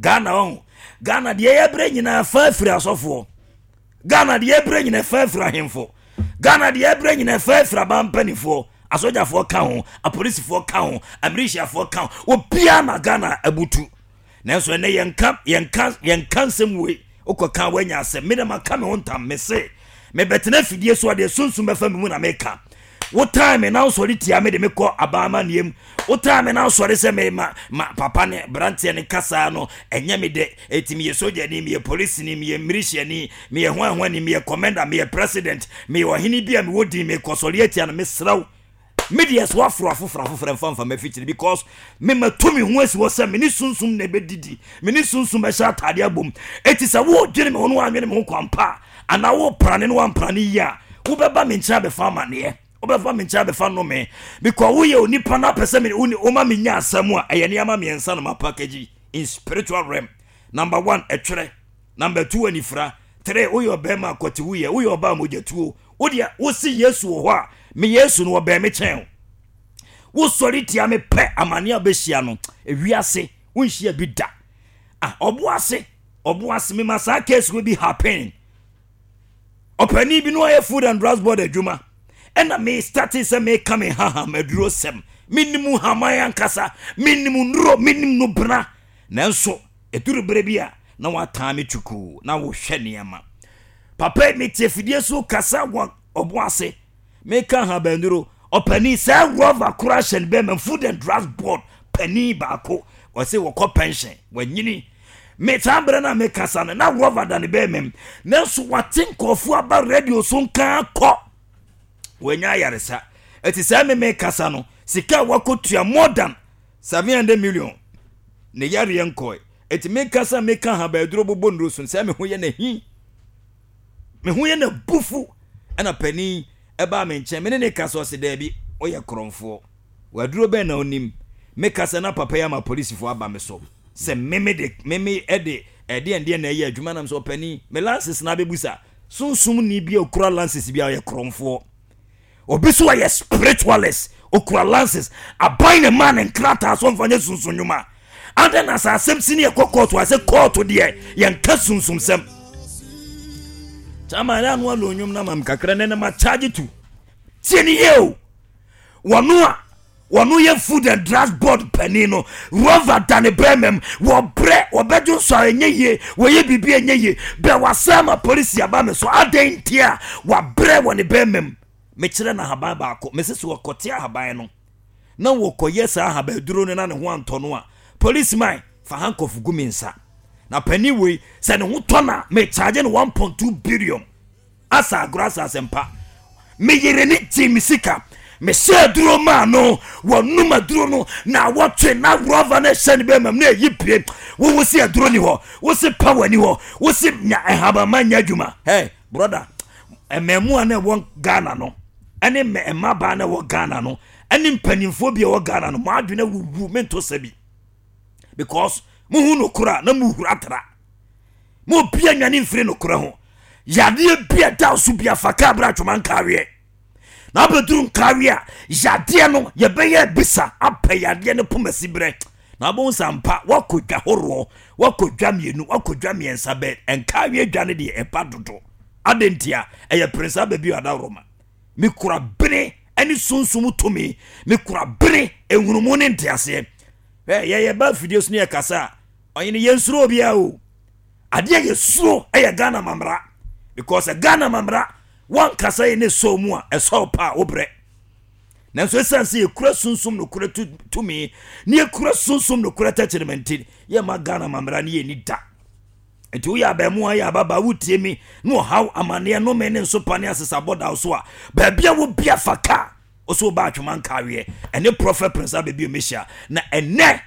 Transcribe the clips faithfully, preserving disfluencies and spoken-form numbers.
Ghana ɔho, Ghana deɛ yɛbrɛ nyinaa fa afiri asɔfoɔ. Ghana deɛ yɛbrɛ nyinaa fa afiri ahemfo. Ghana deɛ yɛbrɛ nyinaa fa afiri aban mpanimfoɔ. Asogyafoɔ ka ho, apolisifoɔ ka ho, amirihyiafoɔ ka ho, obiara na Ghana abutu. Nanso ɛnɛ yɛnka yɛnka yɛnka nsɛm wei, wokɔka woanya asɛm. Me na maka me ho ntam, me se mebɛtena afidie so a, deɛ sunsum bɛfa me mu na meka. Wotaa me na wosɔre tia me de me kɔ aban amanneɛ mu. Wotaa me na wosɔre sɛ me ma ma papa ne branteɛ ne kasaa no ɛnyɛ me dɛ. Eti meyɛ sogyani, meyɛ polisini, meyɛ militiani, meyɛ hwanhwani, meyɛ commander, meyɛ president, meyɛ ɔhene bi a mewɔ din, mekɔsɔre atia no. Mesrɛ wo, me deɛ so aforo afoforɔ afoforɔ mfa mfa mafikyiri, because me matu me ho asi hɔ sɛ me ne sunsum na ɛbɛdidi, me ne sunsum bɛhyɛ atade abom. Eti sɛ wodwene me ho no woanwene me ho kwampa a, anaa woprane no woamprane yie a, wobɛba me nkyɛn abɛfa amanneɛ, wobɛfa me nkyɛn abɛfa nnome, because woyɛ onipa no apɛ sɛ me woma menya asɛm a ɛyɛ nneɛma mmiɛnsa no ma package in spiritual realm. Number one, ɛtwerɛ. Number two, anifira. Three, woyɛ ɔbɛrima akɔte, woyɛ woyɛ ɔbaa mogyatuo. Wodeɛ wosi Yesu wɔ hɔ a, me Yesu no wɔbɛn me kyɛn o. Wosɔre tia me pɛ, amane a bɛhyia no ewiase wonhyia bi da. Ah, ɔbo ase, ɔbo ase, mema saa case wo bi happen. Ɔpanin bi no ayɛ Food and Drugs Board adwuma, ɛna me start sɛ meka me haham aduro sɛm. Menim haman ankasa, menim nnuro, menim no bena. Nanso ɛduru berɛ bi a na wataa me twukuu na wohwɛ nneɛma. Papa yi, mete afidie so kasa wɔ ɔbo ase, meka habanduro. Ɔpanin sɛ rɔva kora hyɛ no bɛma Food and Drugs Board panin baako, wɔsɛ wɔkɔ pension, wanyini. Me saa berɛ no a mekasa no na rɔva da ne bɛrima mu, nanso wate nkɔɔfoɔ aba radio so nka kɔ wɔanya ayaresa. Ɛti sɛ me mekasa no, sika a wakɔtua more than seven hundred million, ne yareɛ nkɔe. Ɛti mekasa meka habaduro bobɔ nnuro so sɛ me ho yɛ n'ahi, me ho yɛ n'abufu. Ɛna panin ɛbaa me nkyɛn, me ne ne kasa, ɔse daabi, ɔyɛ korɔmfoɔ, waduro bɛn na onim. Mekasa na papa yi ama polisifoɔ aba me so sɛ meme de meme ɛde ɛdeɛ ndeɛ na ɛyɛ adwuma nam sɛ ɔpanin me license na abɛbusa. Sunsum ni bi a okura license bi a ɔyɛ korɔmfoɔ, obi so ɔyɛ spiritualist, okura license, aban ne ma ne nkrataa so mfa nyɛ sunsun nnwuma adɛn na sɛ asɛm si ne yɛkɔ kɔɔto a, sɛ kɔɔto deɛ yɛnka sunsumsɛm. Kyama ɛyɛ ano alo nnwom na mam kakra ne ne ma charge to tie ne yie o. Wɔno a wɔno yɛ Food and Drugs Board panin no, rɔva da ne bɛrima mu, wɔbrɛ, wɔbɛdwo nso a ɛnyɛ yie, wɔyɛ biribi a ɛnyɛ yie bɛ wasɛn ma polisi aba me so. Adɛn nti a wabrɛ wɔ ne bɛrima mu? Mekyerɛ no ahaban baako, mese sɛ wɔkɔte ahaban no na wɔkɔyɛ saa ahabaduro no na ne ho antɔ no a, police man fa handcuff gu me nsa. Na panin wei sɛ ne ho tɔ na mecharge no one point two billion. Asa agorɔ asa asɛmpa. Meyere ne gye me sika, mehyɛ aduro maa no, wɔnum aduro no na wɔtwe na rɔva no ɛhyɛ ne bɛma mu na ɛyi pie. Wowo si aduro ni hɔ, wo si power ni hɔ, wo si nya ɛhabama nya adwuma. Hey brother, mmaamua na ɛwɔ Ghana no ɛne mmabaa na ɛwɔ Ghana no ɛne mpanimfoɔ bi a ɛwɔ Ghana no, mo adwene wuwu mento sɛ bi, because muhu nokora na muhura tra mo bia nwane mfiri nokora ho. Yadeɛ bi a da so bi afa kaa berɛ atwoma nkareɛ na abɛduru nkareɛ a, yadeɛ no yɛbɛyɛ bisa apɛ yadeɛ no pomasi berɛ na abɛhu sɛ ampa woakɔ dwa horoɔ, woakɔ dwa mmienu, woakɔ dwa mmiɛnsa bɛ nkareɛ dwa no deɛ ɛba dodo. Adɛn nti a ɛyɛ prince aba bi adaworoma. Mekura bene ne sunsum tumi, mekura bene ehunumu ne nteaseɛ. Ɛ yɛyɛ ba afidie so ne yɛkasa a, ɔyene yɛnsuro obiara o. Adeɛ yɛ suro ɛyɛ Ghana mamra, because Ghana mamra wankasa yɛ ne sɔw mu a ɛsɔw pa a wobrɛ. Nanso ɛsiane sɛ yɛkura sunsum nokorɛ tumi ne yɛkura sunsum nokorɛ tɛkyerɛma nti, yɛma Ghana mamra ne yɛni da. Nti woyɛ abɛɛmoa, yɛ ababaa, wotie mi na ɔhaw amanneɛ nome ne nsopa ne asesabɔ da so a, baabi a wobia fa kaa wo so woba atwoma nkaweɛ ɛne Prophet Prince Abɛbi Omehyia. Na ɛnɛ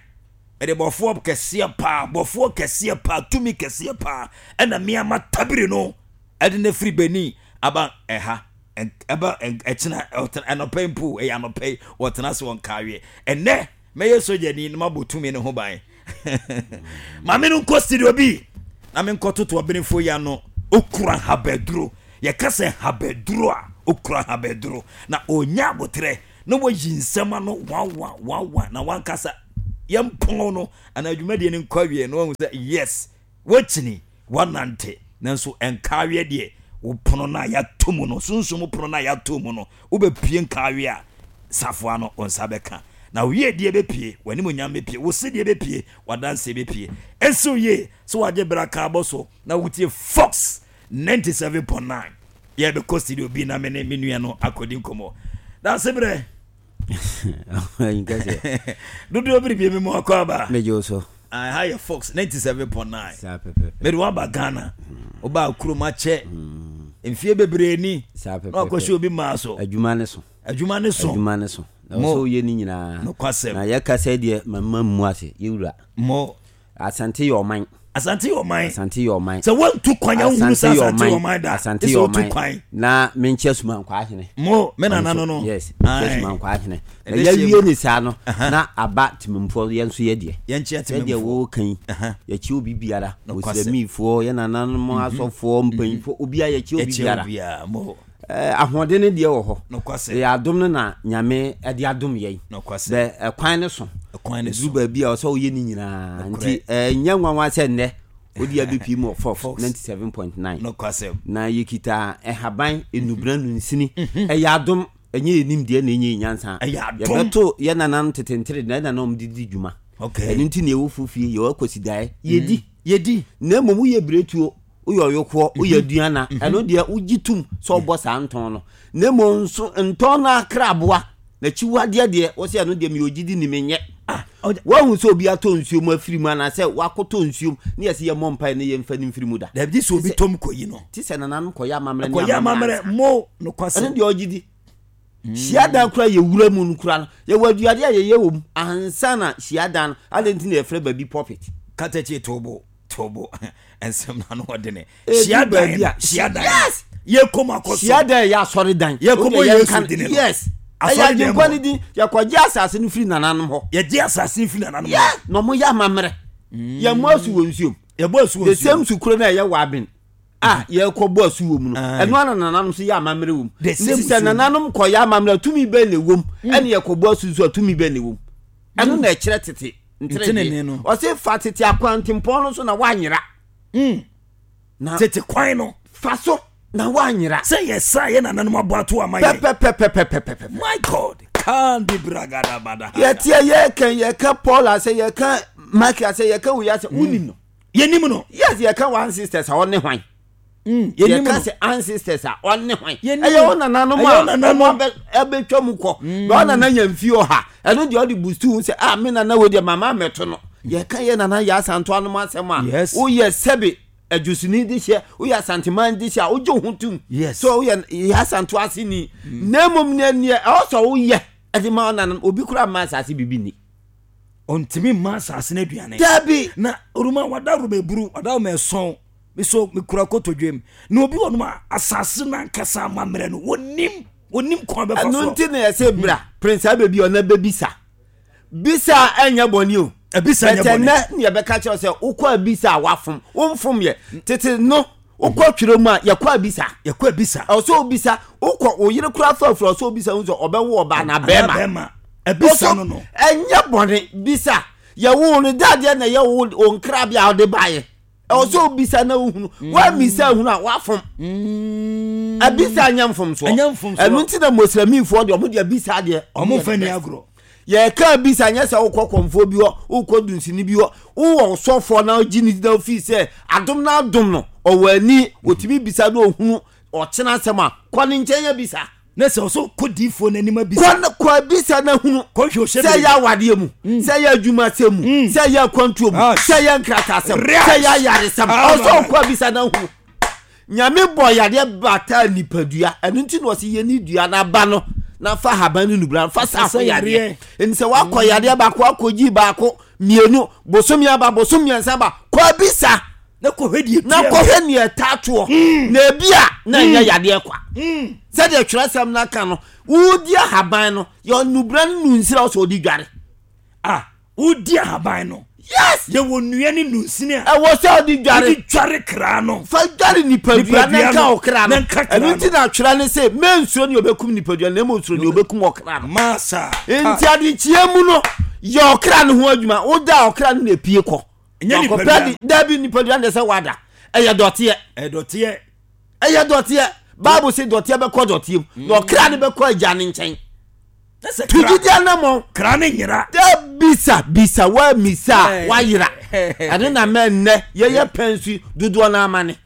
ɛde bɔfoɔ kɛseɛ paa, bɔfoɔ kɛseɛ paa, tumi kɛseɛ paa, ɛna mmeama tabiri no ɛde no firi Benin aba ɛha. Ɛba ɛkyena ɛnɔpɛ mpo, ɛyɛ anɔpɛ yi wɔtena ase wɔn kaweɛ. Ɛnɛ mɛyɛ sogyani na mabɔ tumi ne ho ban. Maame no nkɔ studio bi na menkɔ toto ɔbenefo yi ano. Okura habaduro, yɛka sɛ habaduro a, okura habaduro na onya abotrɛ na wayi nsɛm ano wawa wawa na wankasa. Yɛmpɔn no anaa dwumadie no nkɔ awie na wahu sɛ yes, woakyini, woanante, nanso nkaaweɛ deɛ, wo pono no a yɛato mu no, sunsum pono no a yɛato mu no, wobɛpue nkaaweɛ a, safoa no wo nsa bɛka. Na wo yiedie bɛpue, w'animuonyam bɛpue, wo sedeɛ bɛpue, w'adanseɛ bɛpue. Ɛnsi wo yie sɛ wagye berɛ aka abɔ so na wotie Fox ninety seven point nine. Yɛbɛkɔ studio bi na me ne me nua no akɔdi nkɔmmɔ. Danse berɛ. Dodoɔ biribi mi mu akɔ aba. Megye wo so. Ha yɛ Fox ninety seven point nine. Mede waba Ghana. Woba kurom akyɛ. Mfie bebree ni. Na wakɔhyɛ obi maa so. Adwuma ne so. Adwuma ne so. Adwuma ne so. Na wɔsɛ woyɛ ne nyinaa. Nokwasɛm. Na yɛka sɛ deɛ mama mmu ase yɛwura. Mo. Asante yɛ ɔman. Asante yɛ ɔman. Asante yɛ ɔman. Sɛ wɔntu kwan a wohunu sɛ asante yɛ ɔman da. Asante yɛ ɔman. Na menkyɛ Sumankwa ahene. Mo me nana no no. Yes. Menkyɛ Sumankwa ahene. Na yɛwie ne saa no na aba temamfoɔ yɛn nso yɛ deɛ. Yɛnkyɛ temamfoɔ. Sɛdeɛ wɔka yi. Yɛkyɛ obi biara. Osiramifoɔ yɛ nananom asɔfoɔ mpanyinfoɔ obiara yɛkyɛ obi biara. Yɛkyɛ obiara mo. Ahoɔden no deɛ wɔ hɔ. Nokwasɛm. Ɛyɛ adom no na Nyame de adom yɛn. Nokwasɛm. Bɛ ɛkwan no so. Ɛkwan no so. Duru baabi a ɔsɛ woyɛ ne nyinaa. Nti ɛnyɛ nwanwa sɛ nnɛ wode abɛpie mu wɔ Fox ninety seven point nine. Nokwasɛm. Na yɛkita ɛhaban enubena nunsini. Ɛyɛ adom, ɛnyɛ yɛ nimdeɛ na ɛnyɛ yɛ nyansa. Ɛyɛ adom. Yɛbɛto yɛ nananom tete ntere na yɛ nananom de di dwuma. Okay. Ɛno nti na yɛwɔ fofie, yɛwɔ akwasidaeɛ, yɛdi. Yɛdi. Na mmom woyɛ biretuo, woyɛ ɔyokoɔ, woyɛ aduana, ɛno deɛ wogye tom sɛ wobɔ saa ntɔn no. Na mmom nso ntɔn no akraboa, n'akyiwadeɛ deɛ, wo sɛ ɛno deɛ meyɛ ogyidi ni menyɛ. Woahu sɛ obi atɔ nsuo mu afiri mu anaasɛ wakɔtɔ nsuo mu ne yɛsɛ yɛmmɔ mpaeɛ ne yɛmfa no mfiri mu da. Dabi sɛ obi tɔm kɔyi no. Te sɛ nananom kɔyɛ amammerɛ ne amammerɛ. amammerɛ mo nokwasɛm. Ɛno deɛ ɔgye di. Hyiadan kora yɛwura mu no kora no, yɛwɔ aduade a yɛyɛ wɔ mu ansa na hyiadan no, adɛn nti na yɛfrɛ baabi pulpit? Katakye tobo tobo nsɛm na no ɔde ne. Hyiadan hyiadan. Yes. Yɛkɔm akɔso. Hyiadan yɛ asɔredan. Yɛkɔm Yesu din no. Yes. Ɛyɛ agyenkwa ne din. Yɛkɔgye asase no firi nananom hɔ. Yɛgye asase no firi nananom hɔ. Yes. Na ɔmo yɛ amammerɛ. Yɛmmɔ asu wɔ nsuom. Yɛbɔ asu wɔ nsuom. The same sukuro na ɛyɛ wɔ aben. A yɛkɔbɔ asu wɔ mu no. Ɛno ara nananom nso yɛ amammerɛ wɔ mu. Nti sɛ nananom kɔyɛ amammerɛ tumi bɛn na ɛwɔ mu. Ɛne yɛkɔbɔ asu nso a tumi bɛn na ɛwɔ mu. Ɛno na ɛkyerɛ tete ntenene no. Ɔse fa tete akwantempɔn no so na woanyera. Na tete kwan no. Fa so na woanyera. Sɛ yɛsa yɛ nananom abɔ ato ama yɛ. Pɛpɛpɛpɛpɛpɛ. My God. Kandi bragada bada. Yɛteɛ yɛka yɛka Paul asɛ yɛka Mike asɛ yɛka wei asɛ wonim no. Yɛnim no. Yes, yɛka wɔn ancestors a ɔne hwan. Yɛnim no. Yɛka sɛ ancestors a ɔne hwan. Ɛyɛ wɔn nananom a wɔn abɛtwa mu kɔ. Na wɔn nana nya mfie ɔha. Ɛno deɛ ɔde bustu ho sɛ ah me nana wei deɛ mama mɛto no. Yɛka yɛ nana yɛ asanto anom asɛm a. Woyɛ sɛbe adwosini de hyɛ, woyɛ asanteman de hyɛ a wogye ho tom. Yes. So woyɛ yɛ asanto ase ni. Na mmom neɛ neɛ ɛwɔ sɛ woyɛ ɛde ma wɔn nananom obi koraa mma asase bibi ni. Ɔntumi mma asase no aduane. Dabi. Na oruma wada roma eburu wada roma ɛsɔn so mekura kotodwem na obi wɔ nom a asase no ankasa amammerɛ no wɔnim wɔnim kwan bɛfa so. Ɛno nti na yɛsɛ bra Prince Abebi ɔna bɛbisa. Bisa ɛnyɛ bɔne o. Ebisa nyɛ bɔne. Bɛtɛ nɛ ne yɛbɛka kyerɛ sɛ wokɔ abisa a wafom womfom yɛ tete no wokɔ twerɛ mu a yɛkɔ abisa. Yɛkɔ abisa. Ɛwɔ sɛ obisa wokɔ wo yere kora fa afiri ɔsɛ obisa hu sɛ ɔbɛwo ɔbaa na bɛrima. Ebisa no no. Ɛnyɛ bɔne bisa yɛwo no dadeɛ na yɛwo wo nkrabea a wode baeɛ. Ɛwɔ sɛ obisa na wohunu woamisa hunu a woafom. Abisa nyɛ mfomsoɔ. Ɛno nti na Muslimfoɔ deɛ ɔmo de abisa deɛ ɔmo mfa ni agorɔ. Yɛka abisa nyɛ sɛ wokɔ kɔmfoɔ bi hɔ wokɔ dunsini bi hɔ wowɔ sɔfoɔ na wogye ne na wofii sɛ adom na adom no ɔwɔ ani ɔtumi bisa na ɔhunu ɔkyena asɛm a kɔ ne nkyɛn abisa. Na sɛ ɔsɛ kɔ diifoɔ n'anim abisa. Kɔ kɔ abisa na hunu. Kɔhwɛ ɔhyɛ sɛ yɛ awadeɛ mu sɛ yɛ adwumasɛm mu sɛ yɛ akwantuo mu sɛ yɛ nkratasɛm sɛ yɛ ayaresɛm ɔsɛ ɔkɔ abisa na hunu. Nyame bɔ yadeɛ bata nipadua ɛno nti na ɔsɛ yɛ ne dua n'aba no na fa haban ne nubra fa sa ho yadeɛ. Nti sɛ wakɔ yadeɛ baako akɔgyi baako mmienu bosomi aba bosom mmiɛnsa aba kɔ abisa. Na kɔhwɛ deɛ na kɔhwɛ neɛ ɛtaatoɔ na ebi a na ɛnyɛ yadeɛ kwa. Sɛdeɛ twerɛsɛm no aka no wodi ahaban no yɛ nubra no nunsira sɛ ɔde dware. Ah, wodi ahaban no. Yes. Yɛwɔ nnua ne nunsini a ɛwɔ sɛ ɔde dware. Wode dware kra no. Fa dware nipadua na nka ɔkra no. Ɛno nti na atwerɛ ne sɛ mensuro ne ɔbɛkum nipadua na mmom suro ne ɔbɛkum ɔkra no. Masa. Nti adekyea mu no Yɛ ɔkra no ho adwuma. Woda ɔkra no na epie kɔ. Ɛnyɛ nipadua. Dabi, nipadua no sɛ wada. Ɛyɛ dɔteɛ. Ɛyɛ dɔteɛ. Ɛyɛ dɔteɛ. Bible sɛ dɔteɛ bɛkɔ dɔteɛ mu. Na ɔkra no bɛkɔ agya ne nkyɛn. Tujidi anamɔ. Kra ne nyera. Bisa bisa wa misa wayera. Ɛno na mɛ nnɛ yɛyɛ pɛnsu dodoɔ no amane.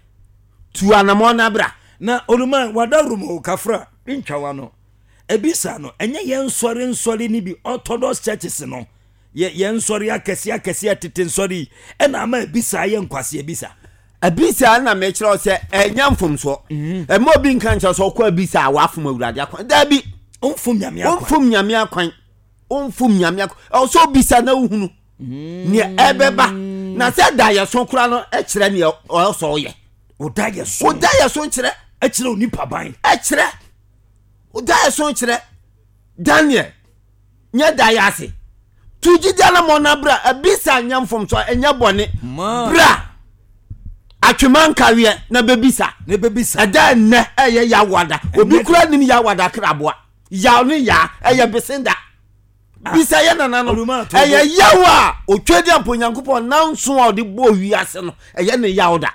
Tu anamɔ na bra. Na oluma wadarum kafra ntwawa no. Ebisa no ɛnyɛ yɛn nsɔre nsɔre ni bi Orthodox churches no. Yɛ yɛn nsɔre akɛse akɛse atete nsɔre ɛna ama ebisa yɛ nkwasi ebisa. Ebisa na mekyerɛ sɛ ɛnyɛ mfomsoɔ. Ɛma obi nka nkyerɛ sɛ ɔkɔ ebisa a wafom Awurade akwan. Dabi. Omfom nyame akwan. Omfom nyame akwan. Omfom nyame akwan. Ɔsɛ obisa na wohunu. Ne ɛbɛba. Na sɛ da yɛ so kora no ɛkyerɛ ne ɔsɔ ɔyɛ. Oda yɛ so. Oda yɛ so nkyerɛ. Ɛkyerɛ onipa ban. Ɛkyerɛ. Oda yɛ so nkyerɛ. Daniel nyɛ da yɛ ase. Tuji dana mo na bra ebisa nyɛ mfom so ɛnyɛ bɔne. Bra. Atwema nkaweɛ na bebisa. Na bebisa. Ɛda nnɛ ɛyɛ yawada. Obi kura nim yawada kraboa. Yaw ne ya ɛyɛ besenda. Bisa yɛ nana no. Ɛyɛ yaw a otwa di ampo Nyankopɔn nanso a ɔde bɔ wiase no ɛyɛ ne yaw da.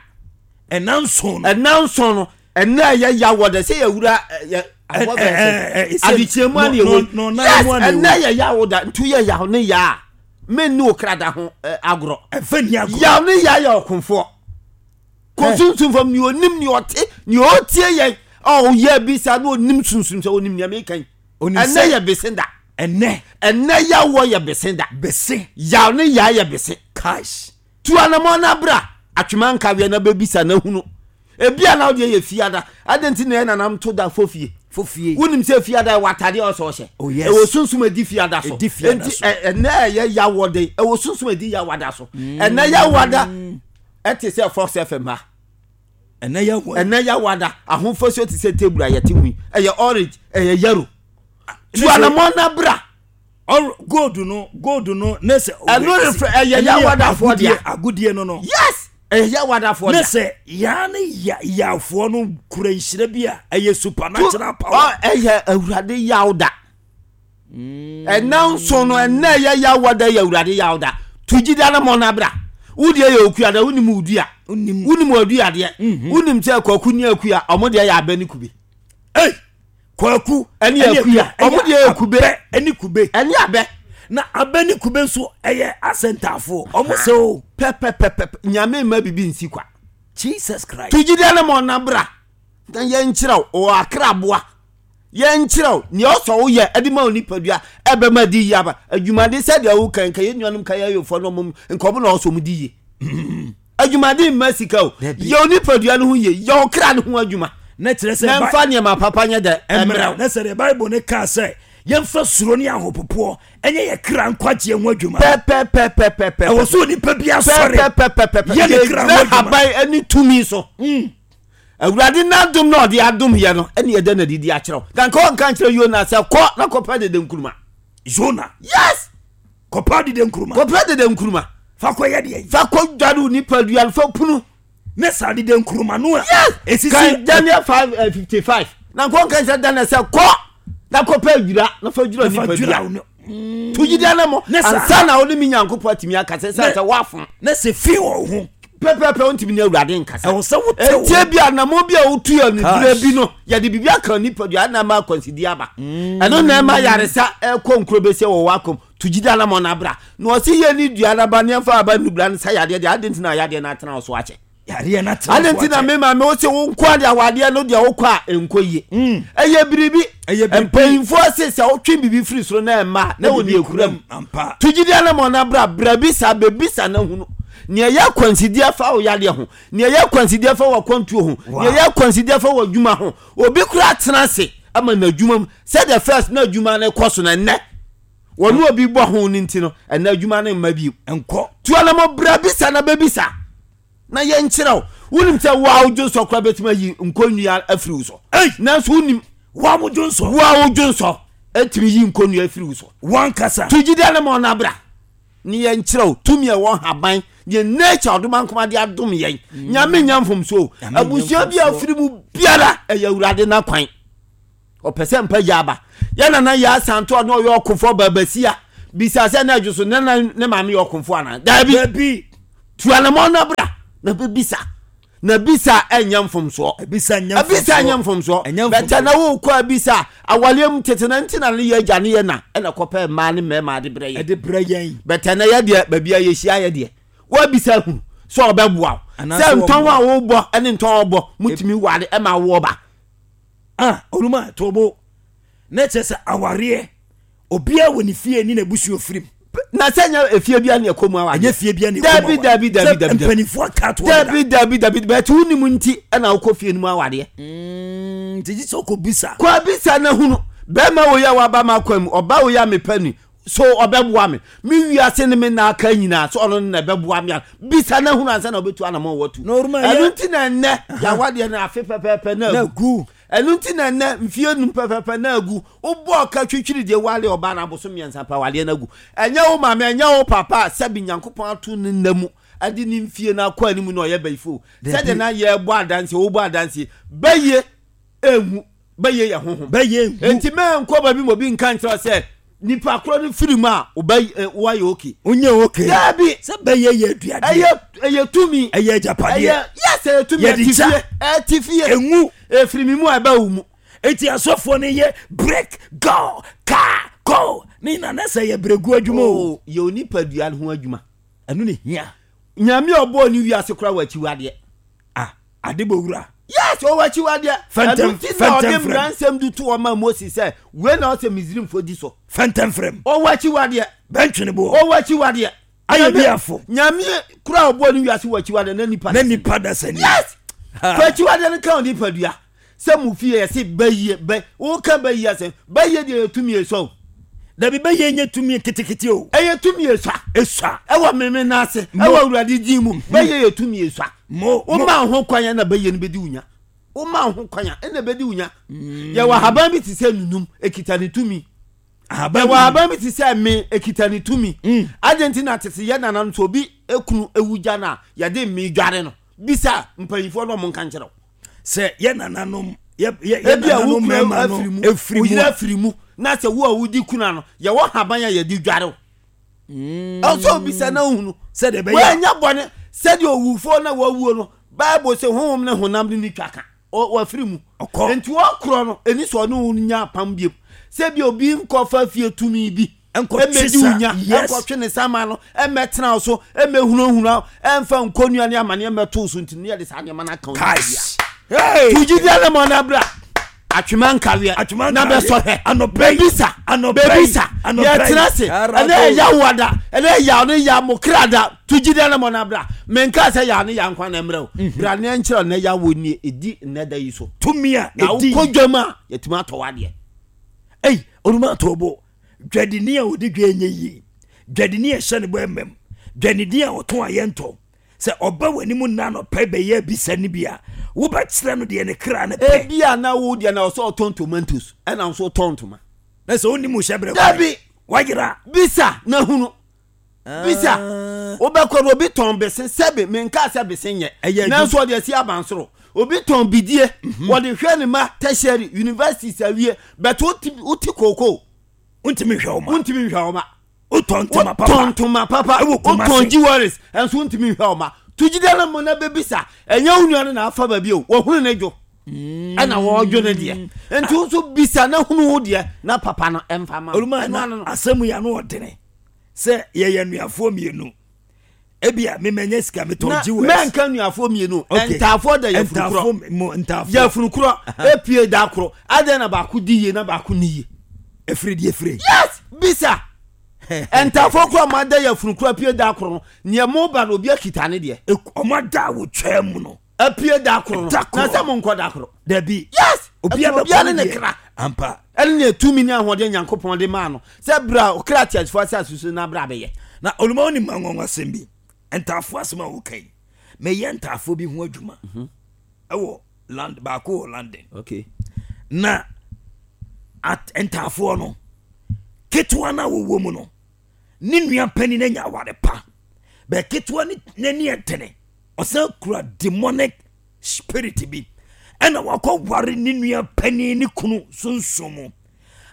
Ɛnanso no. Ɛnanso no ɛnɛ ɛyɛ yaw da sɛ yɛwura yɛ adekyerɛmu ani ɛwɔ. Yes, ɛnɛ yɛ yaw da ntu yɛ yaw ne ya. Men ne okrada ho agorɔ. Ɛfɛ ni agorɔ. Yaw ne ya yɛ ɔkomfoɔ. Konsunsun fam ni onim ni ɔte ni otie yɛn a ɔyɛ bisa na onim sunsun sɛ onim nea meka yi. Ɛnɛ yɛ bese da. Ɛnɛ. Ɛnɛ yawɔ yɛ bese da. Bese. Yaw ne ya yɛ bese. Cash. Tu anamɔ na bra atwema nkaweɛ na bɛbisa na hunu. Ebia na ɔde yɛ fiada. Ade nti na nanam to da fofie. Fofie. Wonim sɛ fiada wɔ atade a ɔsɔ ɔhyɛ. Oh yes. Ɛwɔ sunsum adi fiada so. Edi fiada so. Enti ɛnɛ yɛ yawɔ de ɛwɔ sunsum adi yawada so. Ɛnɛ yawada ɛte sɛ Fox F M ha. Ɛnɛ yawɔ. Ɛnɛ yawada ahofasuo te sɛ table a yɛte hu yi. Ɛyɛ orange, ɛyɛ yellow. Tu anamɔ na bra. Or gold no, gold no, ne sɛ. Ɛno refɛ ɛyɛ yawadafoɔ deɛ. Agudie no no. Yes. Ɛyɛ yawadafoɔ deɛ. Ne sɛ yaa ne ya yafoɔ no kura nhyira bi a ɛyɛ supernatural power. Ɛyɛ Awurade yawda. Ɛnɛ nso no ɛnɛ yɛ yawada yɛ Awurade yawda. Tu gyidi anamɔ na bra. Wodi yɛ okua da wonim wodua. Wonim wodua deɛ. Wonim sɛ kwaku ne akua ɔmo deɛ yɛ abɛ ne kube. Ei! Kwaku ɛne akua ɔmo deɛ yɛ kube. Ɛne kube. Ɛne abɛ. Na abɛ ne kube nso ɛyɛ asɛntafoɔ. Ɔmo sɛ o. Pɛpɛpɛpɛ nyame mma bibi nsi kwa. Jesus Christ. Tu gyidi anamɔ na bra. Na yɛnkyerɛw ɔwɔ akraboa. Yɛnkyerɛw nea ɔsɔ wo yɛ ɛde ma onipadua ɛbɛma di yie aba. Adwumade sɛdeɛ wo kan ka yɛn nuanom ka yɛayɔfoɔ no ɔmo nkɔmɔ na ɔsɔ mo di yie. Adwumade mma sika o. Yɛ onipadua no ho yie, yɛ ɔkra no ho adwuma. Na kyerɛ sɛ na mfa nneɛma papa nyɛ dɛ ɛmmerɛw. Na sɛ the Bible ne kaa sɛ yɛmfa suro ne ahopopoɔ ɛnyɛ yɛ kra nkwagyeɛ ho adwuma. Pɛpɛpɛpɛpɛ. Ɛwɔ so onipa bi asɔre. Pɛpɛpɛpɛpɛ. Yɛ ne kra ho adwuma. Haban ɛne tumi so. Awurade n'adom na ɔde adom yɛ no ɛne yɛda na didi akyerɛw. Na nka ɔnka nkyerɛ Yona sɛ kɔ na kɔpɛ dede nkuruma. Yona. Yes. Kɔpɛ dede nkuruma. Kɔpɛ dede nkuruma. Fa kɔ yɛ deɛ. Fa kɔ dware onipadua fa punu. Ne saa dede nkuruma no a. Yes. Esisi. Kan Daniel five fifty five. Na nka ɔnka nkyerɛ Daniel sɛ kɔ na kɔpɛ adwira na fa dwira onipadua. Tu gyidi anamɔ. Ansa na wo ne me Nyankopɔn atumi akasa sɛ sɛ woafom. Na sɛ fi wɔ ho. Pɛpɛpɛ wontumi ne Awurade nkasa. Ɛwɔ sɛ wote wo. Ɛntie bi anamɔ bi a wotu yɛ ne dura bi no yɛde biribi aka onipadua na ama akwansidi aba. Ɛno na ɛma yaresa ɛkɔ nkuro bɛsi wɔ w'akɔm. Tu gyidi anamɔ na bra. Na ɔsi yɛ ne dua na ba ne ɛmfa aba nubra no sa yadeɛ deɛ ade nti na yadeɛ no atena wo so akyɛ. Yadeɛ no atena wo so akyɛ. Ade nti na me maame wo se wo nko ade awadeɛ no deɛ wokɔ a ɛnkɔ yie. Ɛyɛ biribi. Ɛyɛ biribi. Mpanyinfoɔ se sɛ wotwe biribi firi soro na ɛmma na wɔ ne ekura mu. Tu gyidi anamɔ na bra bra bisa bebisa na hunu. Nea ɛyɛ akwansideɛ fa wo yadeɛ ho. Nea ɛyɛ akwansideɛ fa wɔ akwantuo ho. Nea ɛyɛ akwansideɛ fa wɔ adwuma ho. Obi kura atena ase ama n'adwuma mu. Sɛdeɛ first na adwuma no kɔ so na ɛnnɛ. Wɔne obi bɔ ho no nti no ɛnnɛ adwuma no mma bio. Nkɔ. Tu anamɔ bra bisa na bebisa. Na yɛnkyerɛw. Wonim sɛ wo a wodwo nsɔ koraa bɛtumi ayi nkonnua afiri wo so. Ei! Nanso wonim. Wo a wodwo nsɔ. Wo a wodwo nsɔ ɛtumi yi nkonnua afiri wo so. Wankasa. Tu gyidi anamɔ na bra. Ne yɛnkyerɛw tumi a ɛwɔ haban deɛ nature ɔdoma nkoma de adom yɛn. Nyame nya mfomso. Abusua bi a afiri mu biara ɛyɛ Awurade n'akwan. Ɔpɛ sɛ mpa gya aba. Yɛn nana yɛ asanto a na ɔyɛ ɔkofoɔ baabasia. Bisa sɛ na adwo so ne na ne maame yɛ ɔkomfo anaa? Daabi. Dabi. Tuanamɔ na bra na bɛbisa. Na bisa ɛnyɛ mfomsoɔ. Ebisa nyɛ Ebisa nyɛ mfomsoɔ. Ɛnyɛ Bɛtɛ mfomsoɔ. na wokɔ abisa awaleɛ mu tete na nti na ne yɛ agya ne yɛ na ɛna kɔpɛ mmaa ne mmarima de brɛ yɛ. Ɛde brɛ yɛn. Bɛtɛ na yɛ deɛ baabi a yɛhyia yɛ deɛ woabisa hunu sɛ ɔbɛboa wo Anaasɛ sɛ ntɔn a wobɔ ne ntɔn a ɔbɔ mutumi ware ɛma woɔ ba. Ah, oluma tobo. Na kyerɛ sɛ awareɛ obiara wɔ ne fie ne n'abusua firim. Na sɛ nyɛ efie bia ne ɛkɔ mu awareɛ. Ɛnyɛ fie bia ne ɛkɔ mu Dabi awareɛ. dabi dabi Sɛ dabi dabi. mpanimfoɔ aka ato hɔ dada. Dabi dabi dabi bɛtɛ wonim nti ɛna wokɔ fie no mu awareɛ. Mm, nti gye sɛ wokɔbisa. Kɔ abisa na hunu bɛrima wo yɛ waba ma kwan mu ɔba wo yɛ a mepɛ ni so ɔbɛboa me me wiase ne me na aka nyinaa so ɔno na ɛbɛboa me a bisa na hunu ansa na wobɛtu anamɔ watu. Na oruma Ɛno yɛ nti na ɛnnɛ yɛawadeɛ no afe pɛpɛɛpɛ na na agu. gu. Ɛno nti na ɛnnɛ mfie num pɛpɛɛpɛ na agu. Wobɔ ɔka twitwiri deɛ wale ɔbaa no aboso mmiɛnsa pa wadeɛ no agu. Ɛnyɛ wo maame ɛnyɛ wo papa a sɛbi Nyankopɔn ato ne nna mu ɛde ne mfie no akɔ anim na ɔyɛ bɛyifo. Sɛdeɛ na yɛbɔ adanseɛ wobɔ adanseɛ bɛyɛ ɛnwu bɛyɛ yɛ honhom. Bɛyɛ ngu. Enti mɛnkɔ baabi ma obi nka nkyerɛ wo sɛ nipa korɔ no firi mu a wobɛ ɛ, woayɛ okay. Wonyɛ okay. Daabi. Sɛ bɛyɛ yɛ aduadeɛ. Ɛyɛ ɛyɛ tumi. Ɛyɛ agyapadeɛ. Ɛyɛ yes ɛyɛ tumi Yɛde ɛte gya. fie ɛte fie. Engu. Efiri mi mu a ɛbɛ wo mu. Eti asɔfoɔ no yɛ break go car go ne nyinaa na sɛ yɛ bregu adwuma o. Oh, yɛ onipadua no ho adwuma. Ɛno ne hia. Nyame a ɔbɔɔ ne wiase kora wɔ akyiwadeɛ. Ah, ade bɔ wura. Yes, ɔwɔ akyiwadeɛ. Fɛntɛm- Ɛno nti na ɔde fɛntɛm frɛm. mmara nsɛm de to ɔma Moses sɛ wei na ɔsɛ Misraimfoɔ di so. Fɛntɛm frɛm. Ɔwɔ akyiwadeɛ. Bɛntwene boɔ. Ɔwɔ akyiwadeɛ. Ayɛ Nyame- bi afo. Nyame kora a ɔbɔɔ ne wiase wɔ akyiwadeɛ na nipa Na nipa da sani. Yes. Ha. Fa akyiwadeɛ no ka onipadua. Sɛ mo fie yɛse bɛyie bɛ woka bɛyie asɛm bɛyie deɛ yɛ tumi esɔ o. Dabi bɛyɛ nyɛ tumi ketekete o. Ɛyɛ tumi esua. Esua. Ɛwɔ meme n'ase Mo. ɛwɔ Awurade din mu bɛyɛ yɛ tumi esua. Mo mo. Woma ho kwan a na bɛyɛ no bɛdi wo nya. Woma ho kwan a ɛna bɛdi wo nya. Yɛwɔ ahaban bi te sɛ nunum ekita ne tumi. Ahaban Yɛwɔ bi. ahaban bi te sɛ me ekita ne tumi. Mm. Adɛn nti na tete yɛ nananom sɛ obi ekunu ewu gya no a yɛde me dware no. Bisa mpanyinfoɔ no ɔmo nka nkyerɛ wo. Sɛ yɛ nananom yɛ yɛ yɛ Ebi a wo nananom kunu mmarima no afiri mu, efiri wo mu yere a. afiri mu na sɛ wo a wodi kuna no yɛwɔ haban a yɛde dware wo. Ɛwɔ obisa na ohunu. Sɛdeɛ ɛbɛyɛ a- Wɔanya bɔne sɛdeɛ owufoɔ na wɔawuo no Bible sɛ honhom ne honam ne ne twa ka Ɔ- wɔafiri mu. Ɔkɔ. Nti wɔkorɔ no ɛni sɛ ɔne wo nya apam biom sɛ bi obi nkɔfa fie tumi bi Ɛnkɔtwe ɛmɛdi wo sa- nya yes. ɛnkɔtwe ne sama no ɛmɛtena wo so ɛmɛhunahuna wo ɛmfa nkonnua ne amaneɛ mmɛto so nti no yɛde saa nneɛma no aka wo nipadua. Guys. Hey. Tugyidi ne ma ɔna bra atwema nkaweɛ Atwema na nkaweɛ. bɛsɔ hwɛ Anɔpa yi. bɛbisa Anɔpa yi. bɛbisa Anɔpa yi. yɛtena se Arabo. ɛnɛ ɛyɛ wo da ɛnɛ ɛyɛ ne ya mo kra da tugyidi ne ma ɔna bra menka sɛ yɛ ne ya nkwa na mmerɛ o bra ne nkyerɛ ne ya wo nie ɛdi nnɛ da yi so Tumi a na edi. wokɔ dwam a yɛtumi atɔ wadeɛ Ei, oluma tobo. Dwadini a odi dwa enye yie. Dwadini a ɛhyɛ ne bɔ ɛmɛm. Dwadini a ɔtɔn a yɛntɔ. Sɛ ɔba w'anim nna anɔpa bɛyɛ bisa ne bi a, wobɛkyerɛ no deɛ ne kra ne pɛ. ebi a na wo deɛ na ɔsɛ ɔtɔn tomatoes ɛna nso ɔtɔn ntoma Na sɛ wonim wo hyɛ berɛ Dabi. Wayera. bisa na hunu bisa wobɛkɔ no obi tɔn bese sɛbi menka sɛ bese nyɛ Ɛyɛ adwuma. nanso ɔde asi abansoro obi tɔn bidie wɔde hwɛ ne ma tertiary university awie bɛtɛ wote wote kookoo Wontumi nhwɛ wo ma. wontumi nhwɛ wo ma Wotɔn ntoma papa. wotɔn ntoma papa Ɛwɔ Kumasi. wotɔn jewelries ɛnso wontumi nhwɛ wo ma tugyidie no mo na bɛbisa ɛnyɛ wo nua no na afa baabi o wɔhunu ne dwo ɛna wɔdwo ne deɛ nti wo nso bisa na hunu wo deɛ na papa no ɛmfa ma wo. Oluma Ɛno na ano no. asɛm yi ano ɔdene sɛ yɛyɛ nnuafoɔ mmienu. Ebia memanya sika metɔn na jewels. mɛnka nnuafoɔ mmienu Okay. ntaafoɔ da yɛfunu korɔ Ntaafoɔ mo ntaafoɔ. yɛfunu korɔ epie da korɔ adɛn na baako di yie na baako ni yie Efiri deɛ efiri. yes bisa ntaafoɔ korɔ ma da yɛfunu korɔ apue da korɔ no nea mo ba no obi akita ne deɛ Ek- Ɔmo ada a wotwaa mu no. apue da korɔ no Da korɔ. na sɛ mo nkɔ da korɔ Dabi. yes Obiara ɛfiri obiara bɛkɔ ne ne deɛ. kra Ampa. ɛne ne tumi ne ahoɔden Nyankopɔn de maa no sɛ bere a ɔkra teasefoɔ asase so na bere abɛyɛ Na oluma wonim anwanwasɛm bi. Ntaafoɔ asɛm a woka yi. Meyɛ ntaafoɔ bi ho adwuma. Ɛwɔ land baako wɔ London. okay Na at ntaafoɔ no ketewa no a wɔwɔ mu no ne nua panin anya aware pa bɛɛ ketewa ne n'ani ɛtene ɔsan kura demonic spirit bi ɛna wakɔ ware ne nua panin ne kunu sunsun mu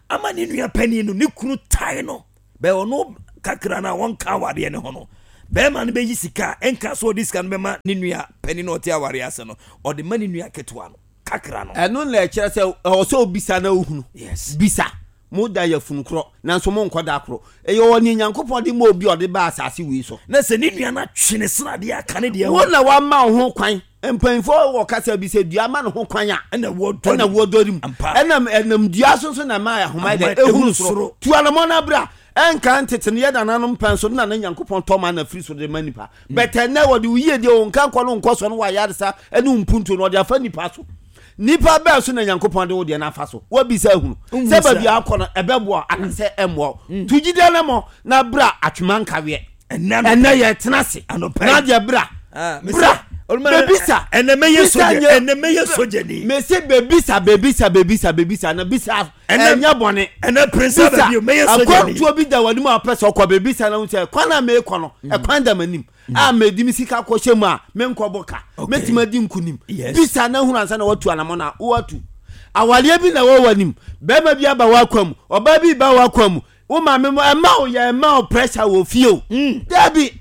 ama ne nua panin no ne kunu tae no Bɛɛ ɔno kakra no a wɔnka awareɛ ne ho no, bɛrima no bɛyi sika a ɛnka sɛ ɔde sika no bɛma ne nua panin na ɔte awareɛ ase no, ɔde ma ne nua ketewa no kakra no. Ɛno na ɛkyerɛ sɛ ɛwɔ sɛ obisa na ohunu. Yes. Bisa. Mo da yɛ funu korɔ nanso mo nkɔ da korɔ. Ɛyɛ wɔ ne Nyankopɔn de ma obi a ɔde ba asase wei so. Na sɛ ne nua no atwe ne sradeɛ aka ne deɛ wo na wama wo ho kwan. Mpanyinfoɔ wɔ kasa bi sɛ dua ma ne ho kwan a ɛna wɔdɔ ɛna wɔdɔre mu. Ampa. Ɛnam ɛnam dua so nso na ɛma ahoma yɛ dɛ Ahoma ehuru ehuru soro. soro. Tu anamɔ na bra. Ɛnka ntete no yɛ nananom pɛn so na ne Nyankopɔn tɔ ma na firi so de ma nipa. Bɛtɛ nnɛ wɔde wo yie deɛ wo nka nkɔ no nkɔ so no wɔ ayaresa ɛne wo mpuntuo no wɔde afa nipa so. Nipa bɛɛ so na Nyankopɔn de wo deɛ no afa so. Wabisa ahunu Nhu sɛ saa. baabi a akɔ no ɛbɛboa anaasɛ ɛmmoa wo. Tu gyidie no mɔ na bra atwema nkaweɛ. Ɛnɛ Ɛnɛ yɛ tena ase. Anɔpa Na yi. deɛ bra. Ah, me Bra. sɛ- Oluma- Bebisa. Ɛnɛ mɛyɛ Bisa sogya nyɛ- ɛnɛ mɛyɛ sogyani. Mese bebisa bebisa bebisa bebisa na bisa Ɛnɛ- ɛnyɛ bɔne. Ɛnɛ prince Bisa ababio mɛyɛ sogyani. akwantuo bi da w'anim a wopɛ sɛ ɔkɔ bebisa na wo sɛ kwan a meekɔ no ɛkwan da m'anim a medi me sika kɔhyɛ mu a menkɔbɔ ka Okay. mɛtumi adi nkonim. Yes. Bisa na hunu ansa na watu anammɔ no a wowatu. Awareɛ bi na ɛwɔ w'anim, bɛrima bi aba w'akwan mu, ɔbaa bi ba w'akwan mu, wo maame mu ɛma wo yɛ ɛma wo pressure wɔ fie o. Dabi,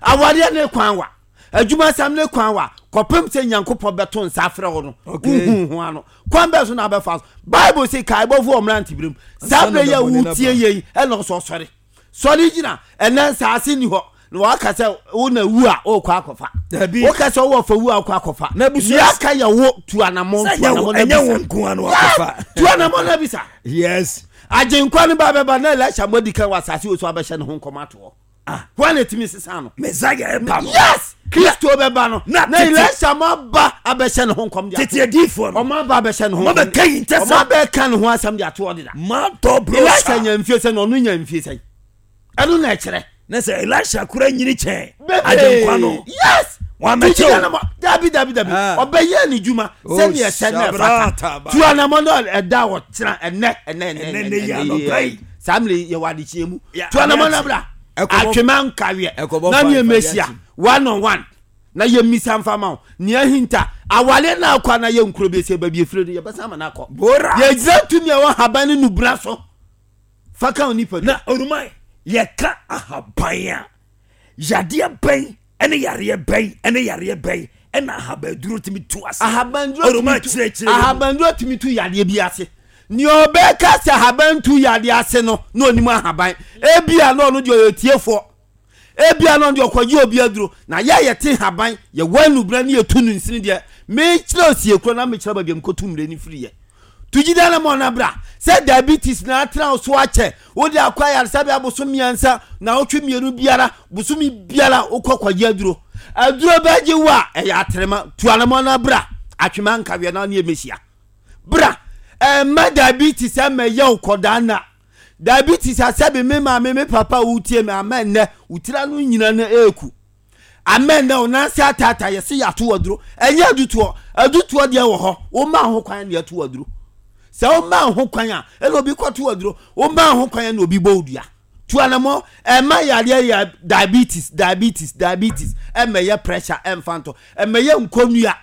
awareɛ ne kwan wa, adwumasɛm ne kwan wa, kɔpem sɛ Nyankopɔn bɛto nsa afrɛ wo no, Okay. wohu ho ano. Kwan bɛɛ so na abɛfa so. Bible sɛ kaebɔfo wɔ mmeranteberɛ mu. Saa Ansa na berɛ yi a bɛbɔ ne wotie naba. yei ɛna ɔsɔ sɔre. Sɔre gyina, ɛnɛ nsaase ni hɔ. Na waka sɛ wo na wu a wokɔ akɔfa. Dabi. Woka sɛ wowɔ fa wu a wokɔ akɔfa. Na abusua- Nea aka yɛ wo tu anammɔn, Sɛ tu ɛnyɛ wo anammɔn na ɛnyɛ wo bisa. nko ano akɔfa. Tu anammɔn na bisa. Yes. Agyenkwa no ba bɛba na Elisha mo adi kan wɔ asase wɔ so abɛhyɛ ne ho nkɔm ato hɔ. Ah. Hwan na etumi sesa no? Messiah ɛba no. Yes! Kristo bɛba no. Na Na tete- Elisha mo aba abɛhyɛ ne ho nkɔm de ato Tete adiifoɔ no. Ɔmo aba abɛhyɛ ne ho Ɔmo nkɔm. abɛka yi ntɛsɛm. Ɔmo abɛka ne ho asɛm de ato hɔ deda. Matɔ Elisha brosa. nya mfie sɛn na ɔno nya mfie sɛn. Ɛno na ɛkyerɛ. Na sɛ Elisha kura nyini kyɛn. Bebree. Agyenkwa no. Yes! Wamɛkyɛ Tugyina o. na mo- Dabi dabi dabi. Ah. Ɔbɛyɛ ne dwuma Oh, sɛnea ɛsɛ na ɛfata. shabrata ba. Tu anamɔ no ɛda ɔkyena ɛnɛ ɛnɛ ɛnɛ Ɛnɛ, ɛnɛ yi anɔpa yi. Saa mmere yi yɛwɔ adekyeɛ mu. Ya, Tu anamɔ no adeɛ bra. Ɛkɔbɔ- Atwema nkaweɛ. Ɛkɔbɔ Na fa- ne fa ɛmɛhyia adeɛ one on one. Na yɛmmisa mfa ma wo. Nea ahinta awale na akɔ na yɛ nkuro bi sɛ baabi efiri no yɛbɛsan ama no akɔ. Bora. Yɛgyina tumi a ɛwɔ haban ne nubra so. Fa ka wo nipadua. Na oruma yɛka ahaban a yadeɛ bɛn ɛne yareɛ bɛn ɛne yareɛ bɛn ɛna ahabanduro tumi tu ase. Ahabanduro Oruma tumi tu kyerɛkyerɛ mu. ahabanduro tumi tu yadeɛ bi ase. Nea ɔbɛka sɛ ahaban tu yadeɛ ase no na onim ahaban. Ebia na ɔno deɛ ɔyɛ tiefoɔ. Ebia na ɔno deɛ ɔkɔgye obi aduro. Na yɛ a yɛte haban yɛwɔ anubra ne yɛtu no nsini deɛ mekyerɛ osie kuro na mekyerɛ baabi a mekɔtu mmire no firi yɛ. Tugyida na ma ɔna bra sɛ diabetes na atena wo so akyɛ wode akɔ ayaresabea bosom mmiɛnsa na wotwe mmienu biara bosome biara wokɔ kɔgye aduro. Aduro bɛgye wo a ɛyɛ atrema. Tu anamɔ na bra atwema nkaweɛ na ne yɛmɛhyia. Bra ɛmma diabetes ɛmɛ yɛ wo kɔdaa na diabetes asɛbe me maame me papa a wotie me ama nnɛ wo tira no nyina no ɛɛku. Ama nnɛ wo nanse ataata yɛse yɛato aduro. Ɛnyɛ adutoɔ. Adutoɔ deɛ wɔ hɔ. Woma ho kwan na yɛto aduro. Sɛ woma ho kwan a ɛna obi kɔto aduro. Woma ho kwan na obi bɔ wo dua. Tu anamɔ ɛma yareɛ yɛ diabetes diabetes diabetes ɛmɛ yɛ pressure ɛmfa ntɔ ɛmɛ yɛ nkonnua.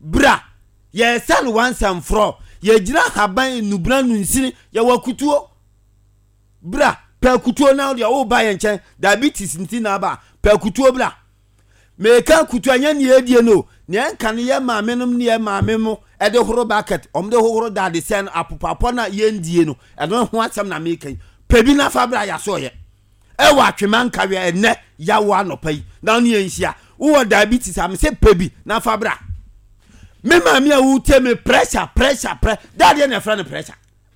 Bra yɛsɛ no once and for all. Yɛgyina haban nubra nunsini yɛwɔ kutuo. Bra pɛ kutuo na deɛ woba yɛn nkyɛn diabetes nti na aba pɛ kutuo bra. Meka kutuo ɛnyɛ nea edie no nea nka no yɛ maame nom ne yɛ maame mo ɛde horo bucket ɔmo de hohoro dadesɛn no apopapɔ na yɛndie no ɛno ho asɛm na meka yi. Pɛ bi nafa bra yɛaso yɛ. Ɛwɔ atwema nkaweɛ ɛnɛ yawo anɔpa yi na ne yɛnhyia. Wowɔ diabetes a mesɛ pɛ bi nafa bra. Me maame a wotie me pressure pressure pressure dadeɛ na ɛfrɛ no pressure.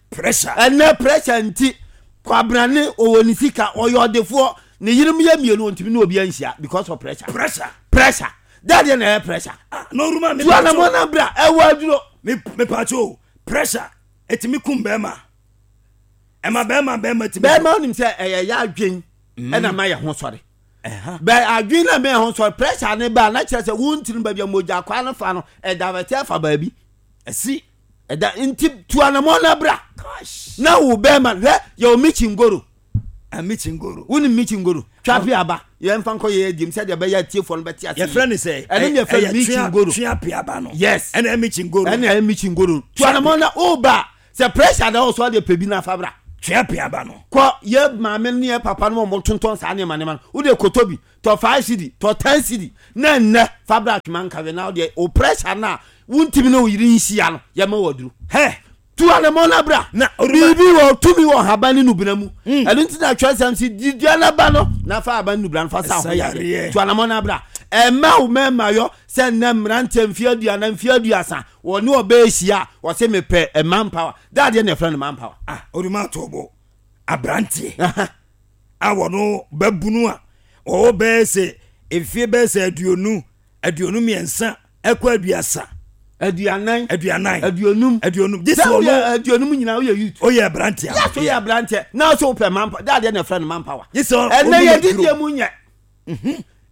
Pressure. Ɛnɛ pressure nti kwabrane ɔwɔ ne sika ɔyɛ ɔdefoɔ ne yerim yɛ mmienu ɔntumi ne obi anhyia because of pressure. Pressure. Pressure. Dadeɛ na ɛyɛ pressure. Ah, na oruma me Tu anamɔ na bra ɛwɔ aduro. Me me pacho pressure etimi kum bɛrima. Ɛma bɛrima bɛrima timi. Bɛrima onim sɛ ɛyɛ yɛ adwen ɛna ma yɛ ho sɔre. Ɛha. Bɛ adwen na ma yɛ ho sɔre pressure ne ba na kyerɛ sɛ wontiri baabi a mogya kwa no fa no ɛda bɛte afa baabi. Ɛsi. Ɛda nti tu anamɔ na bra. Gosh. Na wo bɛrima hwɛ yɛ wo michingoro. A michingoro. Wo ni michingoro. Twa pe aba. Yɛn fa nkɔ yɛ diem sɛdeɛ ɛbɛyɛ atiefoɔ no bɛte ase. Yɛfrɛ no sɛ, Ɛno ne yɛfrɛ no ɛyɛ tua- michingoro. tua pe aba no. Yes. Ɛna ɛyɛ michingoro. Ɛna ɛyɛ michingoro. Tu anamɔ na wo ba sɛ pressure da wo so adeɛ pɛ bi na fa bra. Twea pia ba no. Kɔ yɛ maame ne yɛ papa no wɔn tontɔn saa nneɛma nneɛma no, wode koto bi tɔ five cedi, tɔ ten cedi, na nnɛ fa bra Atwema Nkawe na wodeɛ o pressure no a wontumi ne wo yere nhyia no yɛma waduru. Hɛ! Tu anamɔ na bra. Na biribi wɔ tumi wɔ haban ne nubena mu. Ɛno nti na atwerɛsɛm si di dua no ba no na fa haban ne nubena no fa sa ho yareɛ. Tu anamɔ na bra. Ɛmma wo mmarima yɔ sɛ nnɛ mmeranteɛ mfeɛ aduanan mfeɛ aduasa wɔne ɔbaa ahyia a wɔse mepɛ man power. Da adeɛ na ɛfrɛ no man power. Ah, Oruma Atobo, aberanteɛ a wɔno babunu a wɔwɔ bɛyɛ sɛ mfeɛ bɛyɛ sɛ aduonu aduonu mmiɛnsa ɛkɔ aduasa aduanan aduanan aduonum aduonum gye sɛ ɔno aduonum nyinaa woyɛ youth oyɛ aberanteɛ. Yes, woyɛ aberanteɛ na so wopɛ man power. Da adeɛ na ɛfrɛ no man power. Gye sɛ ɛnɛ yɛ didie mu nyɛ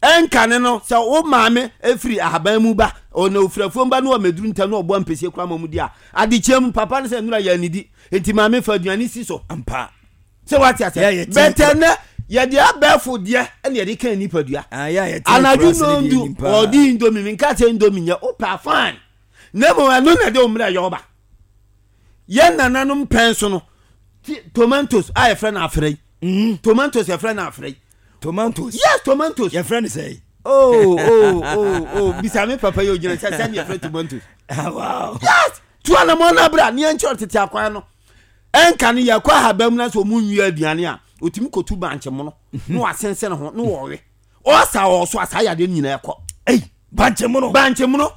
ɛnkane no sɛ wo maame efiri ahaban mu ba ɔna ofiri afuom ba na ɔmɛduru ntam na ɔbɔ mpɛsie kora ma mu di a adekyɛ mu papa no sɛ nnura yɛ anidi nti maame fa aduane si so ampa sɛ wate asɛ bɛtɛ nɛ yɛde abɛɛfo deɛ ɛna yɛde kan nipadua anadwo nondu ɔdi indomie mi nka sɛ indomie nyɛ wopɛ afan na mmom ɛno na ɛde wo mmerɛ yɛ ɔba yɛn nananom pɛn so no tomatoes a yɛfrɛ no afrɛ yi tomatoes yɛfrɛ no afrɛ yi tomatoes yes tomatoes yɛfrɛ no sɛ oh oh oh oh bisa me papa yi ogyina sɛ sɛ yɛfrɛ tomatoes wow yes tu anamɔ na bra ne yɛnkyerɛ tete akwan no ɛnka no yɛkɔ ahaba mu na sɛ ɔmu nwie aduane a ɔtumi kɔtu bankye mono na wasensene ho na wɔwe ɔsa wɔ so a saa yadeɛ no nyinaa ɛkɔ ei bankye mono bankye mono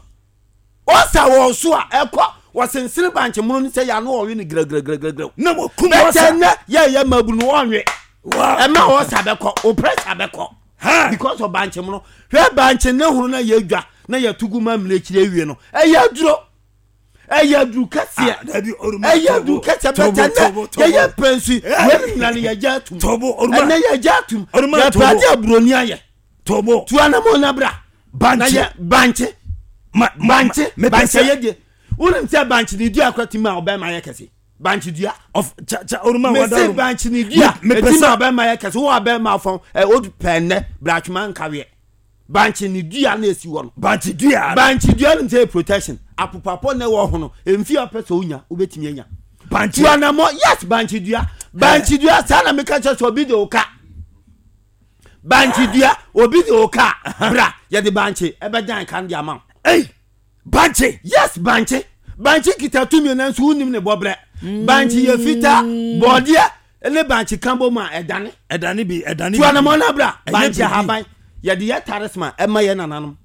ɔsa wɔ so a ɛkɔ wɔsensene bankye mono no sɛ yɛ ano ɔwe no grɛgrɛgrɛgrɛ na wɔkum bɛtɛ nnɛ yɛyɛ mabunu ɔnwe ɛma ɔsa bɛkɔ o pressure bɛkɔ because of bankye mono hwɛ bankye ne hono na yɛdwa na yɛto gu ma mmirekyiri awie no ɛyɛ aduro ɛyɛ aduru kɛseɛ ɛyɛ aduru kɛseɛ bɛtɛ nɛ yɛyɛ pɛnsi wɛn nyina no yɛgya atum ɛnɛ yɛgya atum yɛpɛ ade aburoni ayɛ tu anamɔ nabra bankye bankye bankye bankye yɛ die wonim sɛ bankye ne dua akora tumi a ɔbɛma yɛ kɛse bankye dua mese bankye ne dua ɛtumi a ɔbɛma yɛ kɛse wo abɛma fɔn ɛ o pɛ nnɛ bratwema nkaweɛ bankye ne dua na esi hɔ no bankye dua bankye dua no sɛ protection apopapɔ na ɛwɔ ho no mfi apɛ sɛ onya wobɛtumi anya bankye tuanamɔ yes bankye dua bankye dua saa na meka kyerɛ sɛ obi de wo ka bankye dua obi de wo ka bra yɛde bankye ɛbɛdan kan de ama wo ei bankye yes bankye bankye kita tumi nanso wonim ne bɔbrɛ bankye yɛ fitaa bɔɔdeɛ ne bankye ka bɔ mu a ɛdane ɛdane bi ɛdane bi tuanamɔ na bra bankye ahaban yɛde yɛ taresma ɛma yɛ nananom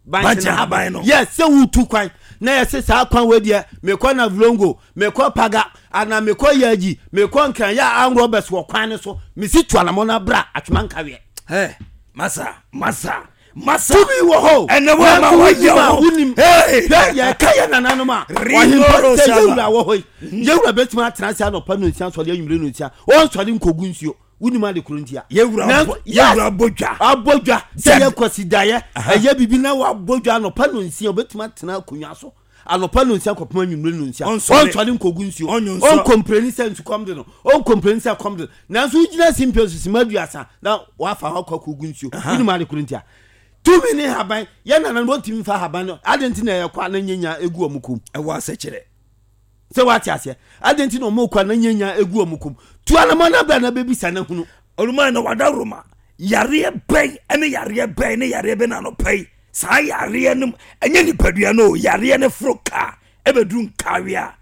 bankye ahaban no yes sɛ wotu kwan na yɛse saa kwan wei deɛ mekɔ Navlongo mekɔ Paga ana mekɔ Yaji mekɔ Nkran yɛ anrɔbɛs wɔ kwan no so mesi tuanamɔ na bra atwema nkaweɛ ɛ masa masa masa tumi wɔ hɔ ɛnɛ wo ma wɔyɛ wo wonim hwɛ yɛka yɛ nananom a ɔhempa sɛ yɛwura wɔ hɔ yi yɛwura bɛtumi atena ase anɔpa no nsia sɔre anwummere no nsia ɔnsɔre nkɔgu nsuo wonim ade koro ntia yɛwura abɔ dwa abɔ dwa sɛ yɛ kwasidaeɛ ɛyɛ biribi na wabɔ dwa anɔpa no nsia wobɛtumi atena akonnwa so anɔpa no nsia kɔpem anwummere no nsia ɔnsɔre nkɔgu nsuo ɔnkompreni sɛ nsukɔm de no ɔnkompreni sɛ kɔm de no nanso wogyina simpɛ so sima aduasa na wafa hɔ akɔ akɔgu nsuo wonim ade koro ntia tumi ne haban yɛ nana no wɔntumi fa haban no ade nti na ɛyɛ kɔ a na nyanya egu wɔn kom ɛwɔ asɛkyerɛ sɛ wate aseɛ ade nti na ɔmo kɔ a na nyanya egu wɔn kom tu anamɔ na bra na bɛbisa na hunu ɔluma na wada roma yareɛ bɛn ɛne yareɛ bɛn ne yareɛ bɛn na anɔpa yi saa yareɛ no ɛnyɛ nipadua no yareɛ no foro kaa ɛbɛduru nkawe a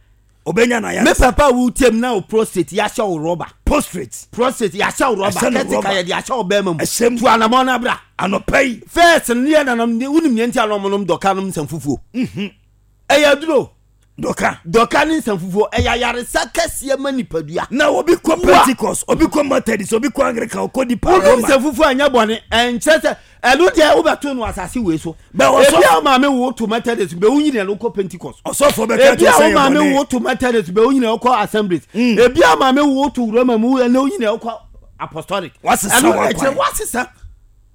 ɔbɛnya na yare me papa wo tem na wo prostate yɛahyɛ wo rɔba prostate prostate yɛahyɛ wo rɔba kɛte ka yɛde ahyɛ wo bɛrima mu tu anamɔ na bra anɔpa yi first ne yɛ nanam wonim neɛ nti a na ɔmonom dɔka nom nsɛm fufuo ɛyɛ aduro dɔka dɔka ne nsɛm fufuo ɛyɛ ayaresa kɛseɛ ma nipadua na obi kɔ Pentecost obi kɔ Methodist obi kɔ Anglican ɔkɔ di pa Roma nsɛm fufuo anyɛ bɔne ɛnkyerɛ sɛ ɛno deɛ wobɛto no asase wei so ebi a wo maame wo to Methodist bɛ wo nyina no kɔ Pentecost ɔsɔfo bɛka ebi a wo maame wo to Methodist bɛ wo nyina kɔ Assemblies ebi a maame wo to Roma mu ɛna wo nyina kɔ Apostolic wasesa ɛno wasesa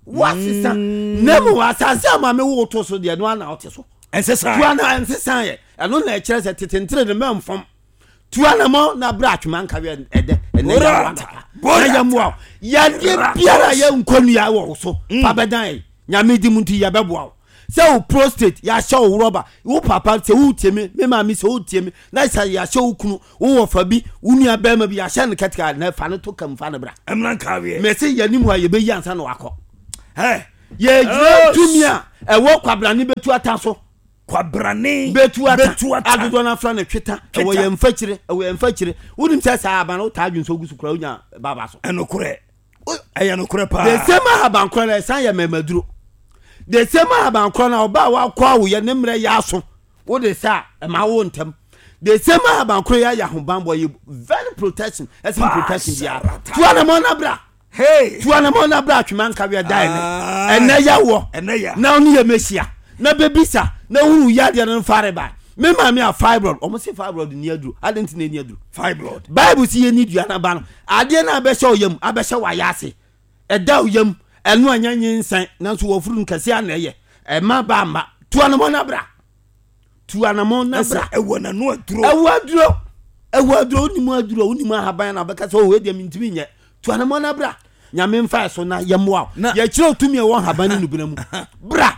wasesa na mu asase a maame wo to so deɛ no ana wote so ɛnsesa tua na ɛnsesa yɛ ɛno na ɛkyerɛ sɛ tetentere ne mɛmfam tua na mɔ na bra atwema nkawe ɛdɛ ɛnɛ yɛ wa na yɛ mmoa yadeɛ biara yɛ nkɔnua wɔ wo so fa bɛdan yɛ nyame di mu nti yɛbɛboa wo Sɛ wo prostate yɛahyɛ wo rɔba, wo papa sɛ wotie me, me maame sɛ wotie me, na sɛ yɛahyɛ wo kunu, wo wɔfa bi, wo nua bɛrima bi yɛahyɛ no kɛtɛka na fa no to kam fa no bra. Ɛmra nkaweɛ. Mɛsɛ yɛnim hɔ a yɛbɛyi ansa na wakɔ. Hey. Yɛgyina tumi a ɛwɔ kwabrane bɛtu ata so. Kwabrane bɛtu ata. Adodoɔ no afra no tweta. Ɛwɔ yɛn mfakyire, ɛwɔ yɛn mfakyire. Wonim sɛ saa aba no wotaa dwonsɔ gu so koraa wonya baba so. Ɛnokorɛ. Ɛyɛ nokorɛ paa. The same ahaban korɔ no ɛsan yɛ mɛmaduro. The same ahaban korɔ no ɔbaa wakɔ awoyɛ ne mmerɛ yɛ aso wode sɛ a ɛma wo ntɛm. The same ahaban korɔ yɛ ayɛ ahobanbɔ yɛ very protection ɛsɛ protection biara. Tua na mɔ na bra. Hey. Tua na mɔ na bra atwema nka wia da ɛnɛ. Ɛnɛ yɛ wɔ. Na ɔne yɛ mɛhyia. Na bɛbisa na hunu yadeɛ no mfare ba. Me maame a fibroid, ɔmo se fibroid ni aduro. Ade nti na ni aduro. Fibroid. Bible si yɛ ni dua na ba no. Adeɛ na abɛhyɛ ɔyam, abɛhyɛ wayɛ ase. Ɛda ɔyam, ɛno anya nyinsɛn, nanso wɔfuru no kɛse ana ɛyɛ. Ɛma ba ama. Tua na mɔ na bra. Tua na mɔ na bra. Ɛwɔ n'ano aduro. Ɛwɔ aduro. Ɛwɔ aduro, wonim aduro, wonim ahaban na bɛka sɛ oh edeɛ mintimi nyɛ. Tua na mɔ na bra. Nyame mfa so na yɛmmoa wo. Yɛkyerɛ tumi ɛwɔ ahaban ne nubena mu. Bra.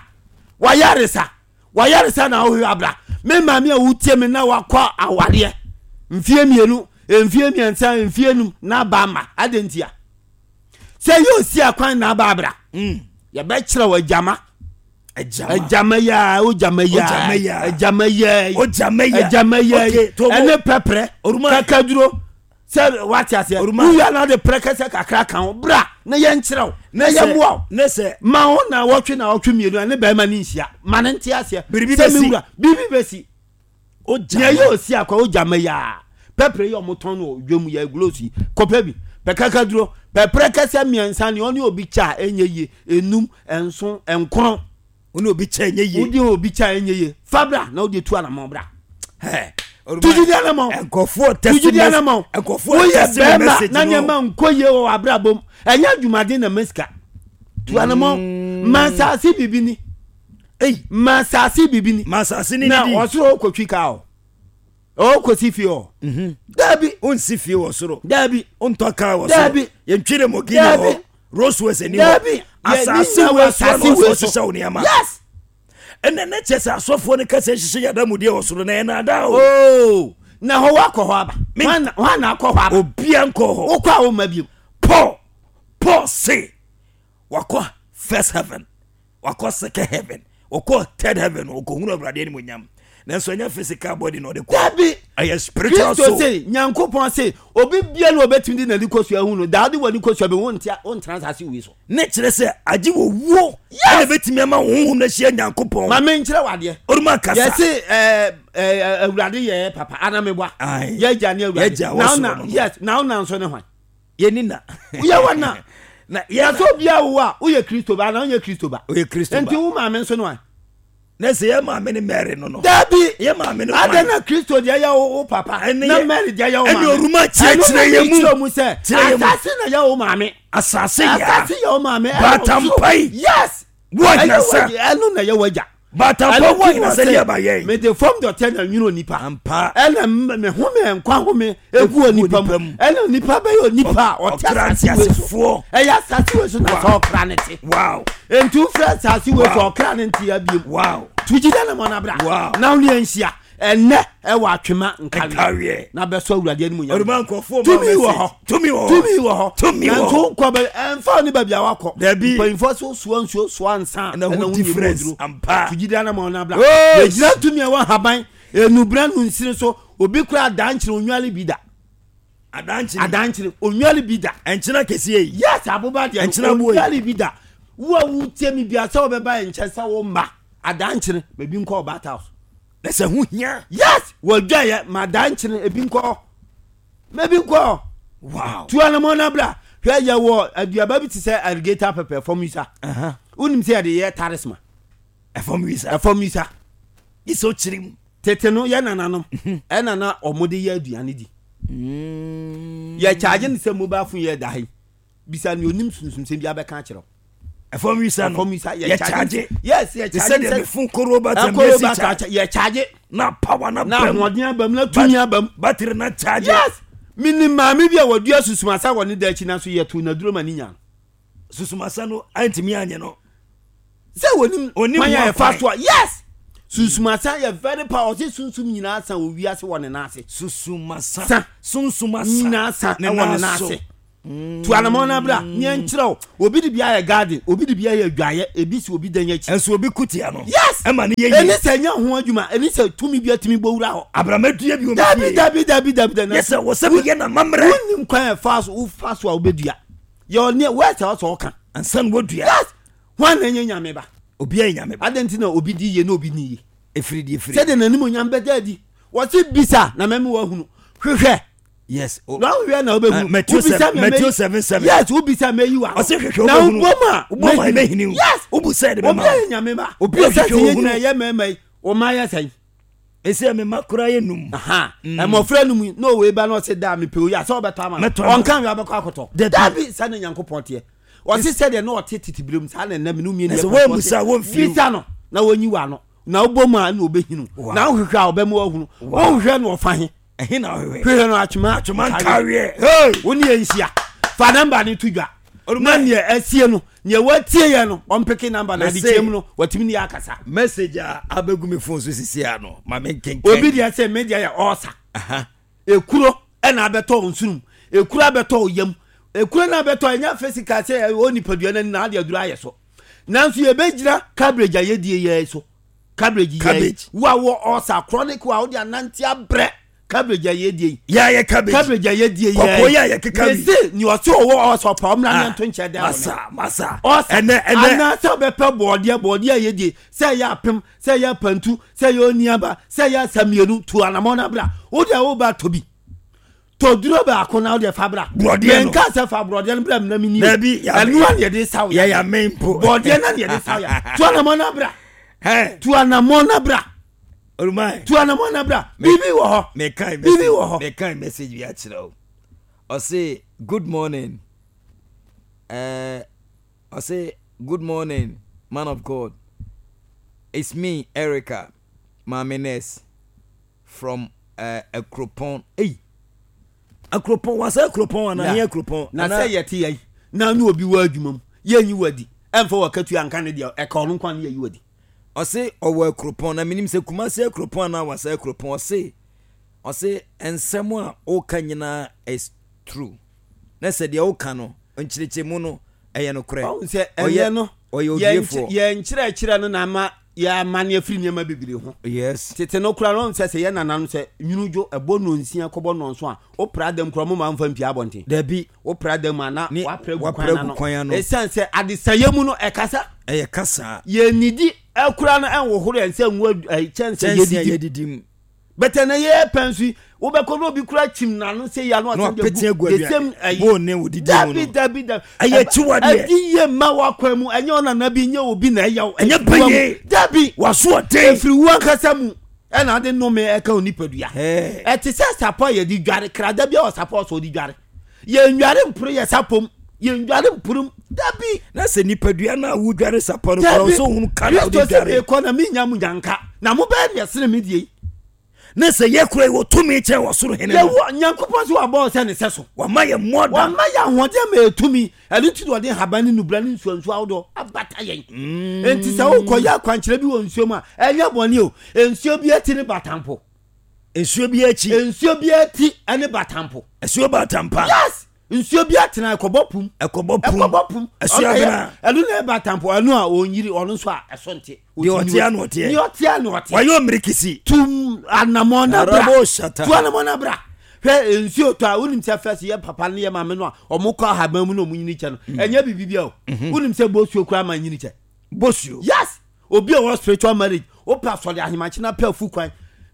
Wayaresa. Wayaresa na wohwɛ abra. Me maame a wotie me na wakɔ awareɛ mfie mmienu, mfie mmiɛnsa, mfie num na aba ama. Adɛn ntia? Sɛ yɛ osi akwan na aba abra. Yɛbɛkyerɛ wɔ agyama. Agyama yaa, ogyama yaa, agyama yaa, agyama yaa, ɛne pɛprɛ, kakaduro. Sɛ wate aseɛ, wowia na de prɛ kɛsɛ kakra ka ho bra na yɛnkyerɛ wo na yɛmmoa wo. Ma wo na wɔtwe na wɔtwe mmienu a ne bɛrima ne nhyia ma ne nte aseɛ. Sɛ me wura biribi bɛsi. Nea ɛyɛ osi akwa ogyama yaa pɛprɛ yi a ɔmotɔn no wɔ dwam yɛ gulos yi kɔpɛ bi pɛ kakaduro pɛprɛ kɛsɛ mmiɛnsa ne ɔne obi kyɛ a ɛnyɛ yie enum nson nkron. Ɔne obi kyɛ ɛnyɛ yie. Wode obi kyɛ a ɛnyɛ yie fa bra na wode tu anamɔ bra. Tujidi anamɔ. Nkɔfoɔ tujidi anamɔ. Woyɛ bɛrima na nneɛma nkɔ yie wɔ w'abrabɔ mu. Ɛnyɛ adwumaden na mesika. Tu anamɔ. Mansase bibi ni. Ei. Mansase bibi ni. Mansase ni na ɔsoro okotwi kaa o. Okosi fie o. Dabi. Onsi fie wɔ soro. Dabi. Ontɔ kaa wɔ soro. Dabi. Yɛntwi ne mɔgini wɔ hɔ. Rosewes ni hɔ. Dabi. Asase wɔ so na ɔsɔ nneɛma. Yes. Ɛnɛ ne kyɛ sɛ asɔfoɔ no kasa hyehyɛ yɛda mu deɛ wɔ soro na ɛna ada o. Oh, na hɔ wakɔ hɔ aba. Hwan na akɔ hɔ aba? Obia nkɔ hɔ. Wokɔ a woma bio. Paul, Paul se wakɔ first heaven, wakɔ second heaven, wakɔ third heaven, wakɔhunu Awurade animuonyam. Nanso ɛnyɛ physical body na ɔde kɔ. Dabi. Ɛyɛ spiritual soul. Kristo se, Nyankopɔn se, obi bia na obetumi de n'ani kosua hu no, daa de w'ani kosua bi wontia wontena asase wei so. Ne kyerɛ sɛ agye wɔ wuo ɛna bɛtumi ama wo honhom no ahyia Nyankopɔn. Ma menkyerɛ wo adeɛ. Oruma kasa. Yɛse ɛɛ ɛɛ Awurade yɛ papa ana meboa. Yɛgya ne Awurade. Yɛgya wɔ soro no. Yes, na wo na nso ne hwan? Yɛni na. Woyɛ wɔ na. Na yɛ sɛ obiara wo a woyɛ Kristo ba ana wonyɛ Kristo ba. Woyɛ Kristo ba. Nti wo maame nso ne hwan? Na sɛ yɛ maame ne Mary no no. Dabi. Yɛ maame ne hwan? Adɛn na Kristo deɛ yɛ wo papa na Mary deɛ yɛ wo maame. Ɛne oruma kyerɛkyerɛ yɛ mu. Ɛno na mu sɛ asase na yɛ wo maame. Asase yɛ. Asase yɛ wo maame. Batampai. Yes. Wɔ nyasa. Ɛno na yɛ w'agya. Batampa wɔ nyasa yɛ ba yɛn. Mede fam dɔtɛ na nwene onipa. Ampa. Ɛna me home nkwa home egu onipa mu. Ɛna onipa bɛyɛ onipa a ɔte asase wei so. Ɛyɛ asase wei so na sɛ ɔkra ne te. Wow. Nti wofrɛ asase wei so ɔkra ne nte abiem. Wow. Tugyi dɛ na mɔ na bra. Wow. Na wo ne yɛnhyia. Ɛnɛ ɛwɔ atwema nkaweɛ. Na bɛsɔ Awurade anim nyam. Ɔrema nkurɔfoɔ ma Tumi wɔ hɔ. Tumi wɔ hɔ. Tumi wɔ hɔ. Tumi wɔ hɔ. Nanso nkɔ bɛ ɛnfa ne baabi a wakɔ. Dabi. Mpanyinfoɔ so soa nsuo soa nsa. Ɛna ho difference ampa. Tugyi dɛ na mɔ na bra. Oh. Yɛgyina tumi a ɛwɔ haban. Enubra nu nsiri so. Obi kura adankyere onwale bi da. Adankyere. Adankyere onwale bi da. Ɛnkyena kɛseɛ yi. Yes, aboba deɛ. Ɛnkyena boɔ yi. Onwale bi da. Wo a wotie mi bia sɛ wɔbɛba yɛn nkyɛn sɛ wo mma adankyere baabi nkɔ ɔbaata house. Na sɛ ho hia. Yes, wɔdwa yɛ ma adankyere ebi nkɔ. Mɛbi nkɔ. Wow. Tu anamɔ na bra. Hwɛ yɛ wɔ aduaba bi te sɛ alligator pepper fam wisa. Wonim sɛ yɛde yɛ tarisma. Ɛfam wisa. Ɛfam wisa. Isɛ ɔkyerɛ mu. Tete no yɛ nananom ɛna na ɔmo de yɛ aduane di. Yɛ kyaagye ne sɛ mobile phone yɛ da ha yi. Bisa ne onim sunsumsɛm bi abɛka akyerɛ wo. Ɛfam wisa no. Ɛfam wisa yɛ kyaagye. Yes, yɛ Te kyaagye. sɛ deɛ mefon koro ba tɛm Ɛkoro yɛsi ba kyaagye. yɛ kyaagye. Na power na Na bɛm. ahoɔden abam na tumi abam. Battery na kyaagye. Yes. Minim maame bi a wadua susumasa wɔ ne da akyi nanso yɛtoo n'aduro ma ne nya no. Susumasa no antumi anyɛ no. Sɛ wɔnim Onim kwan a ho yɛfa akwan. so a, yes, sunsumasa yɛ very power. Ɔse sunsum nyinaa sa wɔ wiase wɔ ne nan ase. Susumasa. Sa. Sunsumasa. Nyinaa sa Ne ɛwɔ ne nan nan so. ase. Tu anamɔ no abra neɛ nkyerɛ wo. Obi de bi ayɛ garden, obi de bi ayɛ adwaeɛ, ebi si obi dan akyi. Ɛnso obi kutia no. Yes. Ɛma ne yɛ Ɛne yie. sɛ ɛnyɛ ho adwuma, ɛne sɛ tumi bi atumi bɔ wura hɔ. Abramadua bi wɔ Dabi. me fie. Dabi, dabi, dabi, dabi. Yɛ sɛ wɔ sɛ meyɛ na mammerɛ. Wonim kwan a ɛfa so, wofa so a wobɛdua yɛ ɔneɛ wɛsɛ ɔsɛ ɔka. Ansa na wadua. Yes, hwan na ɛnyɛ Nyame ba? Obiara yɛ Nyame ba. Adɛn nti na obi di yie na obi ni yie? Ɛfiri deɛ firi. Sɛdeɛ n'anim onyam bɛda adi, wɔse bisa na mɛme woahunu, hwehwɛ Yes. O- na wohwehwɛ na Uh, wobɛhunu. Matthew Wobisa seven- me a Matthew mɛyi- seven seven. Yes, wobisa mɛyi wa. Ɔse hwehwɛ Na wobɛhunu. wobɔ mu a Wobɔ mu a mɛhunu. ɛbɛhini wo. Yes. Wobu sɛ ɛde bɛma Obi wo. ayɛ Nyame ba. Obi a Ɛsɛ ɔhwehwɛ sɛ yɛn ohunu. nyinaa yɛ mmarima yi, ɔma yɛ sɛn? Ɛsɛ me ma koraa yɛ num. Aha, mmɔfra no mu na ɔwɔ eba na ɔsɛ da mepɛ oyi a sɛ ɔbɛtɔ ama no. Mɛtɔ ama no. Ɔnka nwi abɛkɔ akɔtɔ. Dabi. Dabi, saa na Nyankopɔn teɛ. Ɔse sɛdeɛ na ɔte tete berɛ mu, saa na ɛnam ne mmienu Na yɛ sɛ pɛ. woammusa a, wɔmfiri wo. Bisa no na wɔnyi w'ano, na wobɔ mu a na ɔbɛhinu. Wow. Na wohwehwɛ a ɔbɛma woahunu. Wohwehwɛ na ɔfa he? Ɛhe na wohwehwɛ? Hwehwɛ no atwema. Atwoma nkaweɛ. Hey! Wo ne yɛ nhyia, fa number ne to dwa. Olùmọ̀. Na neɛ asie no, neɛ watie yɛ no, ɔmpeke number na Mese. adekyɛ mu no watumi ne yɛ akasa. Message a abɛgu me phone so sisi a no, ma me nkenkan. Obi deɛ sɛ me deɛ yɛ ɔɔsa. Aha. Ekuro ɛna abɛtɔ wo nsonom, ekuro abɛtɔ wo yam, ekuro na abɛtɔ. Ɛnyɛ physical sɛ ɛwɔ nipadua no ani na ade aduro ayɛ so, nanso yɛbɛgyina cabbage a yɛdie yɛ so, cabbage yɛ Cabbage. wo a wɔ ɔɔsa chronic wo a wode anante abrɛ, cabbage a yɛdie yi. Yɛayɛ cabbage. Cabbage a yɛdie yɛ. Kɔkɔɔ yi a yɛkeka bi. Mese nea ɔse ɔwɔ ɔɔsa ɔpa ɔmmra ne Ah, nto nkyɛn dɛ wɔ ne Masa, masa. ɔsa. Ɛnɛ, ɛnɛ. Anaasɛ wobɛpɛ bɔɔdeɛ, bɔɔdeɛ a yɛdie, sɛ ɛyɛ apem, sɛ ɛyɛ apantu, sɛ ɛyɛ oniaba, sɛ ɛyɛ asa mmienu, tu anammɔ no bra. Wode a woba tɔ bi, tɔ duro baako na wode fa bra. Borɔdeɛ no. Menka sɛ fa borɔdeɛ no bra mena meni. Dabi, ya- ɛno a ne yɛde saw ya. Yɛyɛ ame mpo. Bɔɔdeɛ no ne yɛde saw ya. Tu anammɔ no bra. Hey, Tu anammɔ no bra. Olùmọ̀. Tu anammɔ no bra, biribi wɔ hɔ. Mekan Biribi message. wɔ hɔ. Mekan message bi akyerɛ wo. Ɔse good morning. Uh, ɔse good morning, man of God. It's me, Erica, Maame Nurse from uh, Akropong. Hey. Akropong, wasa Akropong ana Yeah. here Akropong. Na sɛ yɛte yɛi na ne obi wɔ adwuma mu, yɛnyi wadi ɛmfa wakatua nka ne deɛ ɛka ɔno nkwa ne yɛyi wadi. Ɔse ɔwɔ Akuropɔn na menim sɛ Kumase Akuropɔn anaa wasa Akuropɔn. Ɔse ɔse nsɛm a woka nyinaa is true. Na sɛ deɛ woka no nkyerɛkyerɛmu no ɛyɛ nokorɛ. Ɔhu sɛ Ɔyɛ ɛnyɛ no ɔyɛ yɛn odiefoɔ. yɛn nkyerɛkyerɛ no na ama yɛamane afiri nneɛma bebree ho. Yes. Tete no kora no, ɔhu sɛ sɛ yɛ nananom sɛ nwunu dwo ɛbɔ nonsia kɔbɔ nɔnso a, wopra dam kora moma mfa mpia abɔnten. Dabi. Wopra dam a na Ne- wapra gu wapra kwan gu ano. kwan ano. Ɛsiane sɛ adesayɛ mu no ɛkasa. Ɛyɛ kasa. Yɛnnidi ɛkora no ɛnwohoro yɛn sɛ ngu adu- ɛyi, kyɛnse. Kyɛnse a yɛdidi. yɛdidi mu. Bɛtɛ na yɛyɛ pɛn so yi, wobɛkɔ na obi kora kyim n'ano sɛ yia no Na ɔsɛ de wapete agu the same aduane ɛyi. bone ne wodidi mu Dabi. no. Dabi, dabi. Ɛyɛ akyiwadeɛ. Ɛdi yie ma wakwan mu, ɛnyɛ ɔnana bi, nyɛ obi na ɛyɛ wo. Ɛnyɛ Ɛfiri wo mu. bɛyɛ. Dabi. Waso ɔden. Ɛfiri wo ankasa mu ɛna ade nnome ɛka wo nipadua. Ɛɛ. Ɛte sɛ sapɔ a yɛde dware krada bi a wɔ sapɔ sɛ ɔde dware, yɛndware mporo yɛ sapɔm, yɛndware mporom, dabi. Na sɛ nipadua no a wodware sapɔ no kora Dabi. wo sɛ wohunu ka na Kristo wode sɛ dware. mekɔ na menya mo nyanka na mobɛyɛ deɛ sene me deɛ yi. Na sɛ yɛ kora yi wɔ tumi kyɛn wɔ soro hene no. Yɛwɔ Nyankopɔn sɛ wabɔ wo sɛ ne sɛ so. Wama yɛ mmɔda. Wama yɛ ahoɔden ma ɛtumi, ɛno nti na ɔde nhaban ne nubra ne nsuansuo ahodoɔ abata yɛn. Enti sɛ wokɔyɛ akwankyerɛ bi wɔ nsuo mu a, ɛnyɛ bɔne o. Nsuo bi ati ne batampo. Nsuo bi akyi. Nsuo bi ati ne batampo. Asuo batampa. Yes, nsuo bi atena ɛkɔbɔ pum. Ɛkɔbɔ pum. Ɛkɔbɔ pum. Asuo Ɔno ɛyɛ- abena. Ɛno na ɛba tampo, ɛno a ɔnyiri ɔno nso a ɛso nte. Deɛ ɔte ano ɔteɛ. Deɛ ɔte ano ɔteɛ. Wayɛ ɔmmirikisi. Tum anamɔ na bra. Arabo shata. Tu anamɔ na bra. Hwɛ, nsuo tɔ a, wonim sɛ fɛs yɛ papa ne yɛ maame no a ɔmo kɔ ahaban mu na ɔmo nyini kyɛ no, ɛnyɛ biribi bia o. Wonim sɛ bosuo koraa ma nyini kyɛ? Bosuo. Yes, obi a ɔwɔ spiritual marriage, wopɛ asɔre ahemakye na pɛ afu kwan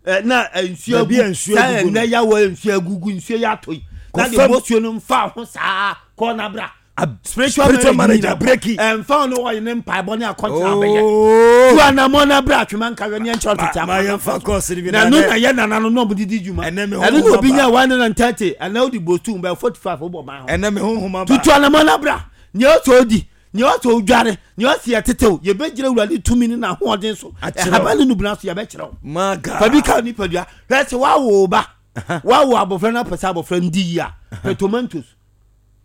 ɛ, na ɛ, nsuo Baabi a agu nsuo saa agugu no. ɛnɛ yawɔ nsuo agugu, nsuo yɛ atɔ yi na de Kɔfam. bosuo no mfa ho saa kɔ na bra. Ab- Spiritual spiritual marriage marriage nyina abreki. ɛmfa wo ne wɔyɛ ne mpaebɔ ne akɔnkyerɛ abɛyɛ. Oh. Tu anamɔ na bra, atwema nka wɛ ne ɛnkyerɛ tete Ma- ma akwan. yɛmfa kɔɔse no bi. Na na ɛno ɛnɛ- na yɛ nana no na ɔmo didi dwuma. Ɛnɛ me ɛno honhom na obi aba. nya one hundred and thirty, ɛnɛ wode bostu bɛ forty five wobɔ ban ho. Ɛnɛ me honhom aba. Tutu anamɔ na bra. Nea ɔsɛ odi, nea ɔsɛ odware, nea ɔsɛ yɛtetew, yɛbɛgyina Awurade tumi ne n'ahoɔden so. Akyerɛ wo. Ɛhaban ne nubena so yɛbɛkyerɛ wo. My God. Fa bi ka nipadua. Hwɛ, sɛ woawo wo ba, woawo abɔfra no apɛ sɛ abɔfra no di yie a, pɛ tomatoes.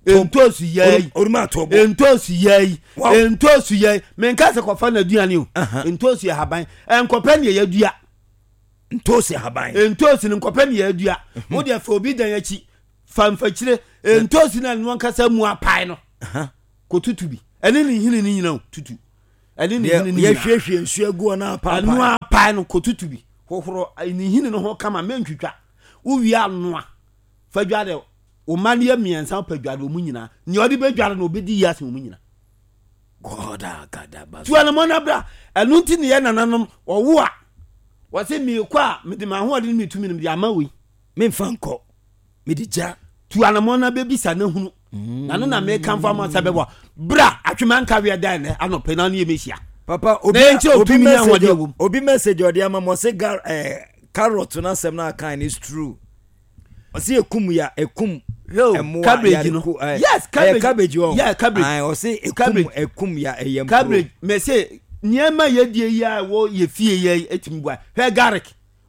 Ntoosi yɛ oruma ato bo. Ntoosi yɛ yi. Wow. Ntoosi yɛ yi, menka sɛ kɔfa no aduane o. Aha. Ntoosi yɛ haban, ɛnkɔpɛ ne yɛyɛ Ntoosi haban. Ntoosi no, nkɔpɛ ne yɛadua. Wode fa obi dan akyi, fa mfakyire ntoosi no a no ankasa mu apae no, Aha. kɔtutu bi ɛne ne nhini no nyina o, tutu ɛne ne Deɛ nhini no nyina. yɛhwiehwie nsuo agu hɔ na ɛno apaapa. apae no, kɔtutu bi, hohoro ne nhini no ho kama, mentwitwa. Wowie anoa, fa dware wo ma no yɛ mmiɛnsa. Wopɛ dware ɔmu nyinaa, nea ɔde bɛdware no ɔbɛdi yi ase ɔmu nyina. God akadaba. Tu anamɔ no bra. Ɛno nti ne yɛ nananom ɔwo a wɔse meekɔ a, mede m'ahoɔden ne metumi no mede ama wei. Memfa nkɔ, mede gya. Tu anamɔ no bɛbisa no hunu na no na mekamfo ama sɛ bɛboa. Bra Atwema Nkaweɛ da ɛnɛ anɔpɛ na ne yɛmɛhyia. Papa, obi Na yɛnkyerɛ obi otumi ne message ahoɔden wɔ mu. Obi message ɔde ama mo, ɔsɛ gar eh, carrot no asɛm no aka is true. Ɔsɛ ekum ya, ekum Yo, ɛmoa cabbage yare no. ku- eh, Yes, ɛyɛ cabbage. Cabbage wɔ. Yeah, cabbage. Ɔsɛ ekum Cabbage. ekum ya, ɛyɛ mpuro. Cabbage, mɛsɛ nneɛma yɛdie yi a ɛwɔ yɛ fie yɛ ɛtumi boa. Hwɛ garlic,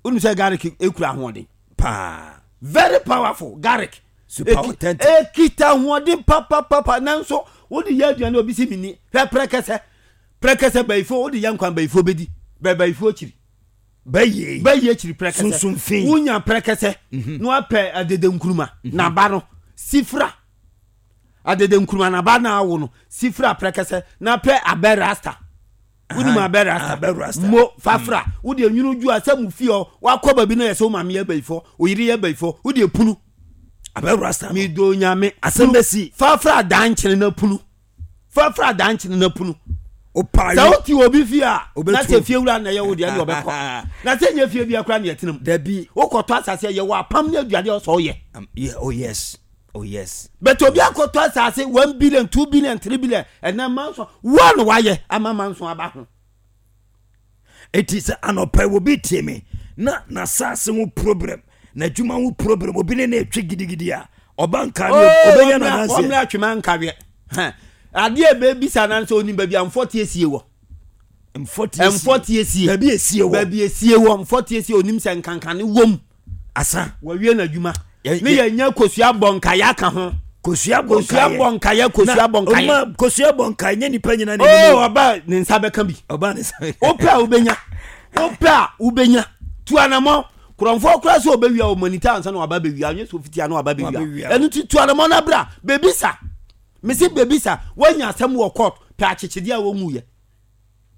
wonim sɛ garlic ekura ahoɔden paa. Very powerful garlic. Super Eki- authentic. Ekita ahoɔden papapapa, nanso wode yɛ aduane, obi si mi ni. Hwɛ prɛkɛsɛ, prɛkɛsɛ bayifo, wode yɛ nkwan, bayifo bɛdi bɛ bayifo akyiri. Bɛyɛ. Bɛyɛ akyiri prɛkɛsɛ. Sunsumfin. Wonya prɛkɛsɛ na wapɛ adede nkuruma naba no sifra, adede nkuruma naba na awo no sifra prɛkɛsɛ, na pɛ abɛ rasta. Wonim abɛ rasta? Abɛ rasta. Mo fafra, wode nwunu dwu a sɛ mu fie hɔ wakɔ baabi no yɛ sɛ wo maame yɛ bayifo, wo yere yɛ bayifo, wode punu. Abɛ rasta no. Medo Nyame. Asɛm bɛsi. Fafra dankyene na punu, fafra dankyene na punu. Opa. Sɛ wote obi fie a, Obɛtu. na sɛ fie wura na ɛyɛ wo deɛ ne ɔbɛkɔ, na sɛ nyɛ fie bia kora ne yɛtena mu. Dabi. Wokɔtɔ asase a, yɛwɔ apam ne aduane a ɔsɛ ɔyɛ. Um, yeah, oh yes, oh yes. But obi akɔtɔ asase one billion, two billion, three billion, ɛnɛ manso woa na wayɛ ama manso aba ho. Eti sɛ anɔpɛ obi tie me na n'asase ho problem, n'adwuma ho problem, obi ne na etwi gidigidi a, ɔba nka ne obɛnya n'adanseɛ. Ɔmmra Atwema Nkaweɛ. Hɛn. Adeɛ a ɛbɛbisa no sɛ onim baabi a mfɔteɛ sie wɔ. Mfɔteɛ sie. Mfɔteɛ sie. Baabi esie wɔ. Baabi esie wɔ, mfɔteɛ sie, onim sɛ nkankane wom. Asa. Wɔwie n'adwuma Yɛ- ne yɛ- yɛnya kosua bɔ nkayɛ aka ho. Kosua bɔ. Kosua bɔ nkayɛ, kosua bɔ nkayɛ. Ɔma kosua bɔ nkayɛ nye nipa nyina ne oo, ɔba ne nsa bɛka bi. Ɔba ne sa. Wopɛ a wobɛnya, wopɛ a wobɛnya. Tu anamɔ. Kurɔmfoɔ kora sɛ ɔbɛwia wɔ manita ansa na waba bɛwia, ɔnyɛ sɛ ofitia na waba bɛwia. Wabɛwia. Ɛno nti tu anamɔ no abra bɛbisa. Mese bɛbisa. Woanya asɛm wɔ court, pɛ akyekyedeɛ a wɔnwuyɛ.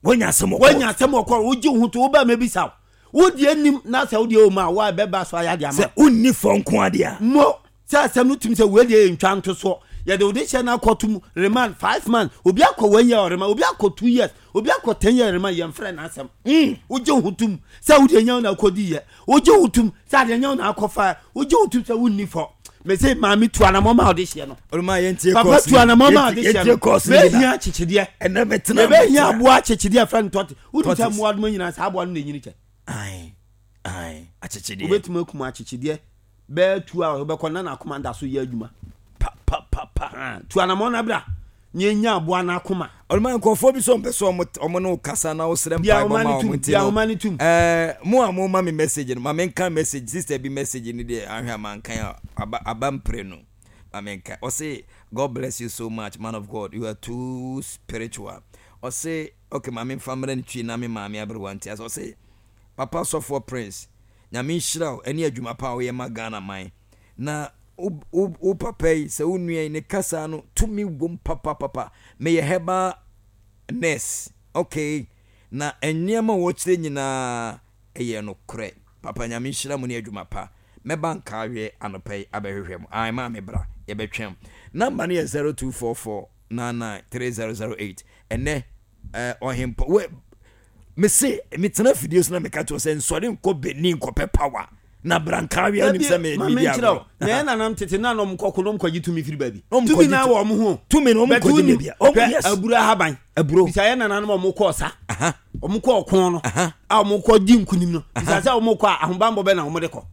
Wonya asɛm wɔ. Woanya asɛm wɔ court, wogye wo ho to, woba mɛbisa wo, wodeɛ nim na sɛ wodeɛ wɔ mu a, woa bɛba so ayɛ ade ama. Sɛ wonni fɔ nko adeɛ a. Mo sɛ asɛm no tumi sɛ wei deɛ yɛ ntwa nto soɔ, yɛde wode hyɛ no akɔto mu remand five months, obi akɔ one year remand, obi akɔ two years, obi akɔ ten years remand, yɛmfrɛ n'asɛm. Mm. Wogye wo ho tom sɛ wode nya wo na akɔdi yɛ, wogye wo tom sɛ adeɛ nya wo na akɔfa, wogye wo tom sɛ wonni fɔ. Mese maame, tu anamɔ ma wode hyeɛ no. Ɔluma, yɛntie. Papa, tu anamɔ ma wode hyeɛ no. Yɛntie kɔɔso ni Mɛhia na akyekyedeɛ. Ɛnɛ mɛtena. Yɛbɛhia aboa akyekyedeɛ frɛ no tɔte. Wonim sɛ Tortoise. mmoa doma nyinaa, saa aboa no na ɛnyini kyɛ. Ae ae, akyekyedeɛ. Wobɛtumi akum akyekyedeɛ bɛɛ tu a, wobɛkɔ na n'akoma da so yɛ adwuma. Pa pa pa pa. Ah, tu anamɔ no bra na yɛnya aboa no akoma. Ɔluma, nkurɔfoɔ bi sɛ ɔmpɛ sɛ ɔmo ɔmo ne wo kasa na wosrɛ Bia mpaebɔ ahoma ma no ɔmo tum, nti bia no ahoma no tum. ɛɛ mo a mo ma me message no, ma menka message, sister bi message ni deɛ, ahwɛ a mankan a aba aba mpere no, ma menka. Ɔse, "God bless you so much, man of God, you are too spiritual." Ɔse, okay, ma memfa mmerɛ no twi na me maame aberewa nti asɛ. Ɔse, "Papa Sɔfoɔ Prince, Nyame nhyira wo ɛne adwuma pa a woyɛ ma Ghana man na wo wo wo papa yi, sɛ wo nua yi ne kasa no tumi wom papapapa. Meyɛ herbal nurse, okay, na nneɛma a wɔkyerɛ nyinaa ɛyɛ nokorɛ. Papa, Nyame nhyira mu ne adwuma pa. Mɛba Nkaahwɛ anɔpa yi abɛhwehwɛ mu." Ae, maa me bra, yɛbɛtwɛn. Number no yɛ zero two four four nine nine three zero zero eight. Ɛnɛ ɛɛ ɔhempɔ wɛ, mese metena fidie so na meka kyerɛ sɛ nsɔre nkɔ Benin nkɔpɛ power na bra Nkaahwɛ. Anim sɛ me ma medi menkyerɛ wo agorɔ. Na yɛ nanam tete na na ɔmo kɔko na ɔmo kɔgye tumi firi baabi. Ɔmo Tumi kɔgye na tu- wɔ ɔmo ho. Tumi no, ɔmo Bɛte kɔgye wonim- baabi a ɔmo hwɛ, yes. Aburo ahaban. Aburo. Bisa yɛ nananom a ɔmo kɔɔ sa, Aha. ɔmo kɔɔ ɔko no Aha. a ɔmo kɔ di nkunim no, bisa sɛ ɔmo kɔ a, ahobanbɔ bɛ na ɔmo de kɔ?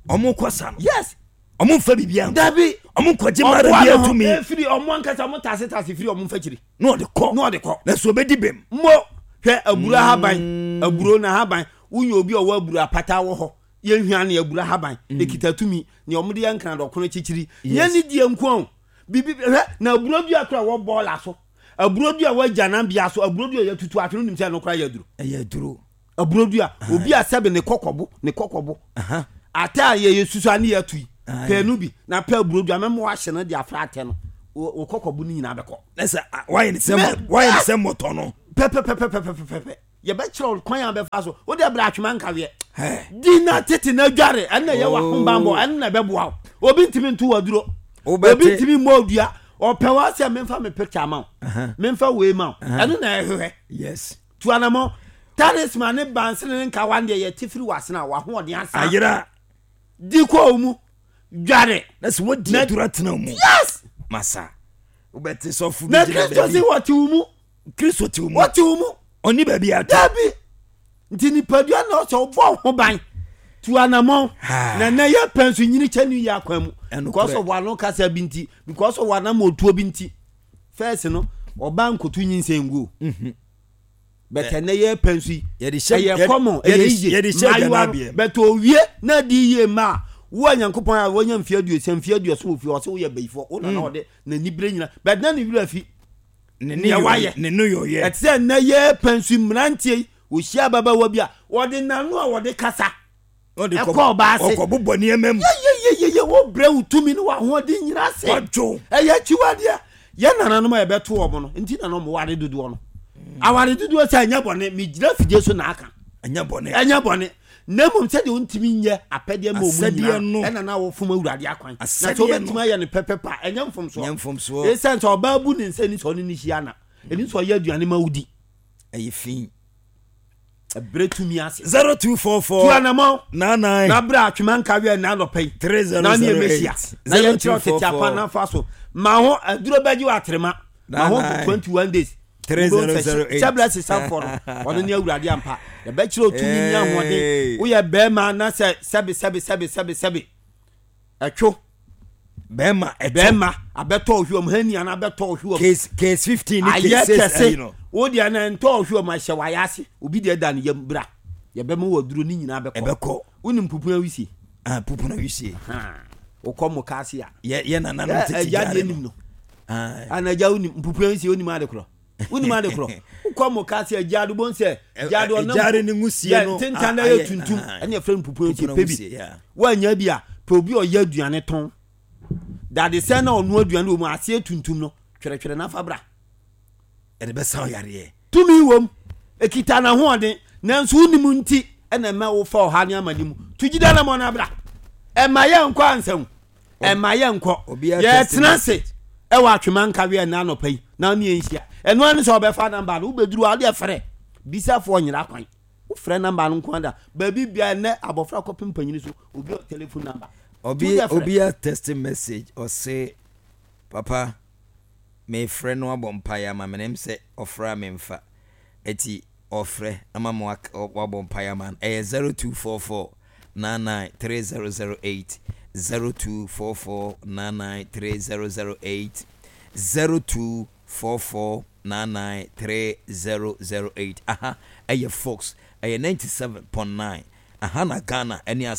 Ɔmo kɔ sa no, Yes. ɔmo nfa biribi ankɔ. Dabi. Ɔmo nkɔgye mara Ɔboa bi ne ho atumi. efiri ɔmo ankasa, ɔmo tase tase firi ɔmo mfakyiri. Na ɔde kɔ. Na ɔde kɔ. Na so obɛdi bɛm. Mo hwɛ aburo ahaban, aburo na ahaban, wonya obi a ɔwɔ aburo apata wɔ hɔ, yɛnhwia ne aburo ahaban ekita tumi nea ɔmo de yɛ nkran dɔkono kyikyiri. Nyɛ ne die nko o, Biribi hwɛ na aburo dua kora wɔ bɔɔla so, aburo dua wɔ agyananbea so, aburo dua yɛtutu atwene, wonim sɛ ɛno kora yɛ aduro. Ɛyɛ aduro. Aburo dua, obi a sɛbe ne kɔkɔbo ne kɔkɔbo atɛ a yɛyɛ susu a ne yɛatu yi, pɛɛ no bi na pɛ aburo dua mɛma wahye no de afra atɛ no, wo kɔkɔbo no nyinaa bɛkɔ. Na sɛ wayɛ ne sɛ wayɛ ne sɛ mmɔtɔ no. Pɛpɛpɛpɛpɛpɛpɛ, yɛbɛkyerɛ wo kwan a bɛfa so wode brɛ atwema nkaweɛ di na tete na adware, ɛno na ɛyɛ w'ahobammɔ, ɛno na ɛbɛboa wo. Obi ntumi nto w'aduro, obi ntumi mmɔ odua, ɔpɛ wɔ sɛ memfa me picture ma wo, memfa wei ma wo, ɛno na ɛhwehwɛ. Yes. Tu anamɔ talisman ne bansene ne nkawa deɛ yɛte firi w'asene a w'ahoɔden asa ayera. Di kɔ wo mu dware na sɛ wodi aduro atena mu. Yes. Masa wobɛte sɔfo bi na gyina Kristo baabi. Se wɔte wo mu. Kristo te wo mu. Wɔte wo mu. Ɔni baabi ato. Dabi, nti nipadua na ɔsɛ ɔbɔ ho ban, tu anamɔ na na yɛ pɛn so nyini kyɛ ne yɛ akwan mu because of wano kasa bi nti, because of wanam otuo bi nti. First no, ɔba nkoto nyinsɛn nguo, bɛtɛ ne yɛ pɛn so yi ɛyɛ kɔmɔ, ɛyɛ yie mmaayewa no bɛtɛ owie na di yie mmaa wo a Nyankopɔn a wɔnya mfe aduosia, mfe aduɔson wɔ fie, ɔsɛ woyɛ bayifoɔ wo nana ɔde n'ani bere nyina bɛtɛ na ne werɛ afi ne nea wayɛ. Ne no yɛ. Ɛte sɛ nnɛ yɛ pɛn so mmeranteɛ yi, wɔhyia ababaawa bi a wɔde n'ano a wɔde kasa ɛkɔ ɔbaa ase. Ɔkɔbobɔ nneɛma mu. Yeyeyeye, wobrɛ wo tumi ne w'ahoɔden nyina ase. Wadwo. Ɛyɛ akyiwadeɛ. Yɛ nananom a yɛbɛto wɔn no nti na na ɔmo ware dodoɔ no, aware dodoɔ sɛ ɛnyɛ bɔne. Megyina fidie so na aka. Ɛnyɛ bɔne. Ɛnyɛ bɔne, na mmom sɛdeɛ wontumi nyɛ apɛdeɛ ma ɔmu Asɛdeɛ nyinaa no. ɛna na wɔfom Awurade akwan na sɛ Asɛdeɛ no. wobɛtumi ayɛ no pɛpɛpɛ a, ɛnyɛ mfomsoɔ. Nyɛ mfomsoɔ. Ɛsiane sɛ ɔbaa bu ne nsa ni sɛ ɔne ne hyia na ɛni sɛ ɔyɛ aduane ma wodi. Ɛyɛ fi. Ɛberɛ tumi ase. Zero two four tu four anamɔ nine nine na berɛ atwema nka wiɛ na anɔpa yi three zero na ne zero ɛmɛhyia eight na zero yɛnkyerɛ two wo four tete apa four na fa so ma ho aduro bɛgye wɔ aterema ma ho Nine nine. twenty-one days. Three zero zero eight. Hyɛbrɛ sesafoɔ no, ɔno ne Awurade ampa. Yɛbɛkyerɛ otumi ne Hey. ahoɔden. Woyɛ bɛrima na sɛ sɛbe sɛbe sɛbe sɛbe sɛbe ɛtwo bɛrima ɛtɔ bɛrima abɛtɔ ɔhwɛ mu hani ana abɛtɔ ɔhwɛ mu case case fifteen ne ayɛ case six kɛse ɛyi no. Wo deɛ na ntɔ ɔhwɛ mu ahyɛ wayɛ ase, obi deɛ da ne yam bra, yɛbɛma wɔ aduro ne nyinaa bɛkɔ. Ɛbɛkɔ. Wonim pupu awisie? Ah, pupu na wisie. Wokɔ mo kaase a yɛ yɛ nananom ɛ- tete agya gyaare deɛ no nim no. Ah, Ana agya, wonim mpupu awisie? Wonim ade korɔ? Wonim ade korɔ? Wokɔ mo kaase a, gyaade bon sɛ gyaade ɛ- ɔnam gyaare ne nwusie yɛ no ntentan na a- yɛ ayɛ- tuntum. ah, Ɛne yɛfrɛ no pupu awisie. Pupu na pɛ bi nwusie, yeah. Woanya bi a, pɛ obi a ɔyɛ aduane tɔn dadesɛn na ɔno aduane wɔ mu aseɛ tuntum no, twerɛtwerɛ nafa bra. Ɛde bɛsa wo yareɛ. Tumi wom, ekita n'ahoɔden, nanso wonim nti ɛna ɛma wofa ɔha ne amane mu to gyida na mɔ no abra. Ɛma yɛ nkɔ ansa ɛma yɛ nkɔ. Obiara text Yɛtena message. ase ɛwɔ atwema nkaweɛ ɛna anɔpa yi na ne yɛnhyia. Ɛno ane sɛ ɔbɛfa number no, wobɛduru a wode frɛ bisafoɔ nyera kwan, wofrɛ number no nko ada baabi bia. Ɛnɛ abɔfra kɔpem panyini so, obi ɔ telephone number. Obi Tu deɛ frɛ. Obi a text message, ɔse, "Papa, mefrɛ no abɔ mpaeɛ ama me." Nem sɛ ɔfrɛ a memfa, ɛti ɔfrɛ ama ma wak- ɔ- wabɔ mpaeɛ ama no. Ɛyɛ zero two four four nine nine three zero zero eight, zero two four four nine nine three zero zero eight, zero two four four nine nine three zero zero eight. Aha ɛyɛ Fox, ɛyɛ ninety-seven point nine. Aha na Ghana ɛne asa.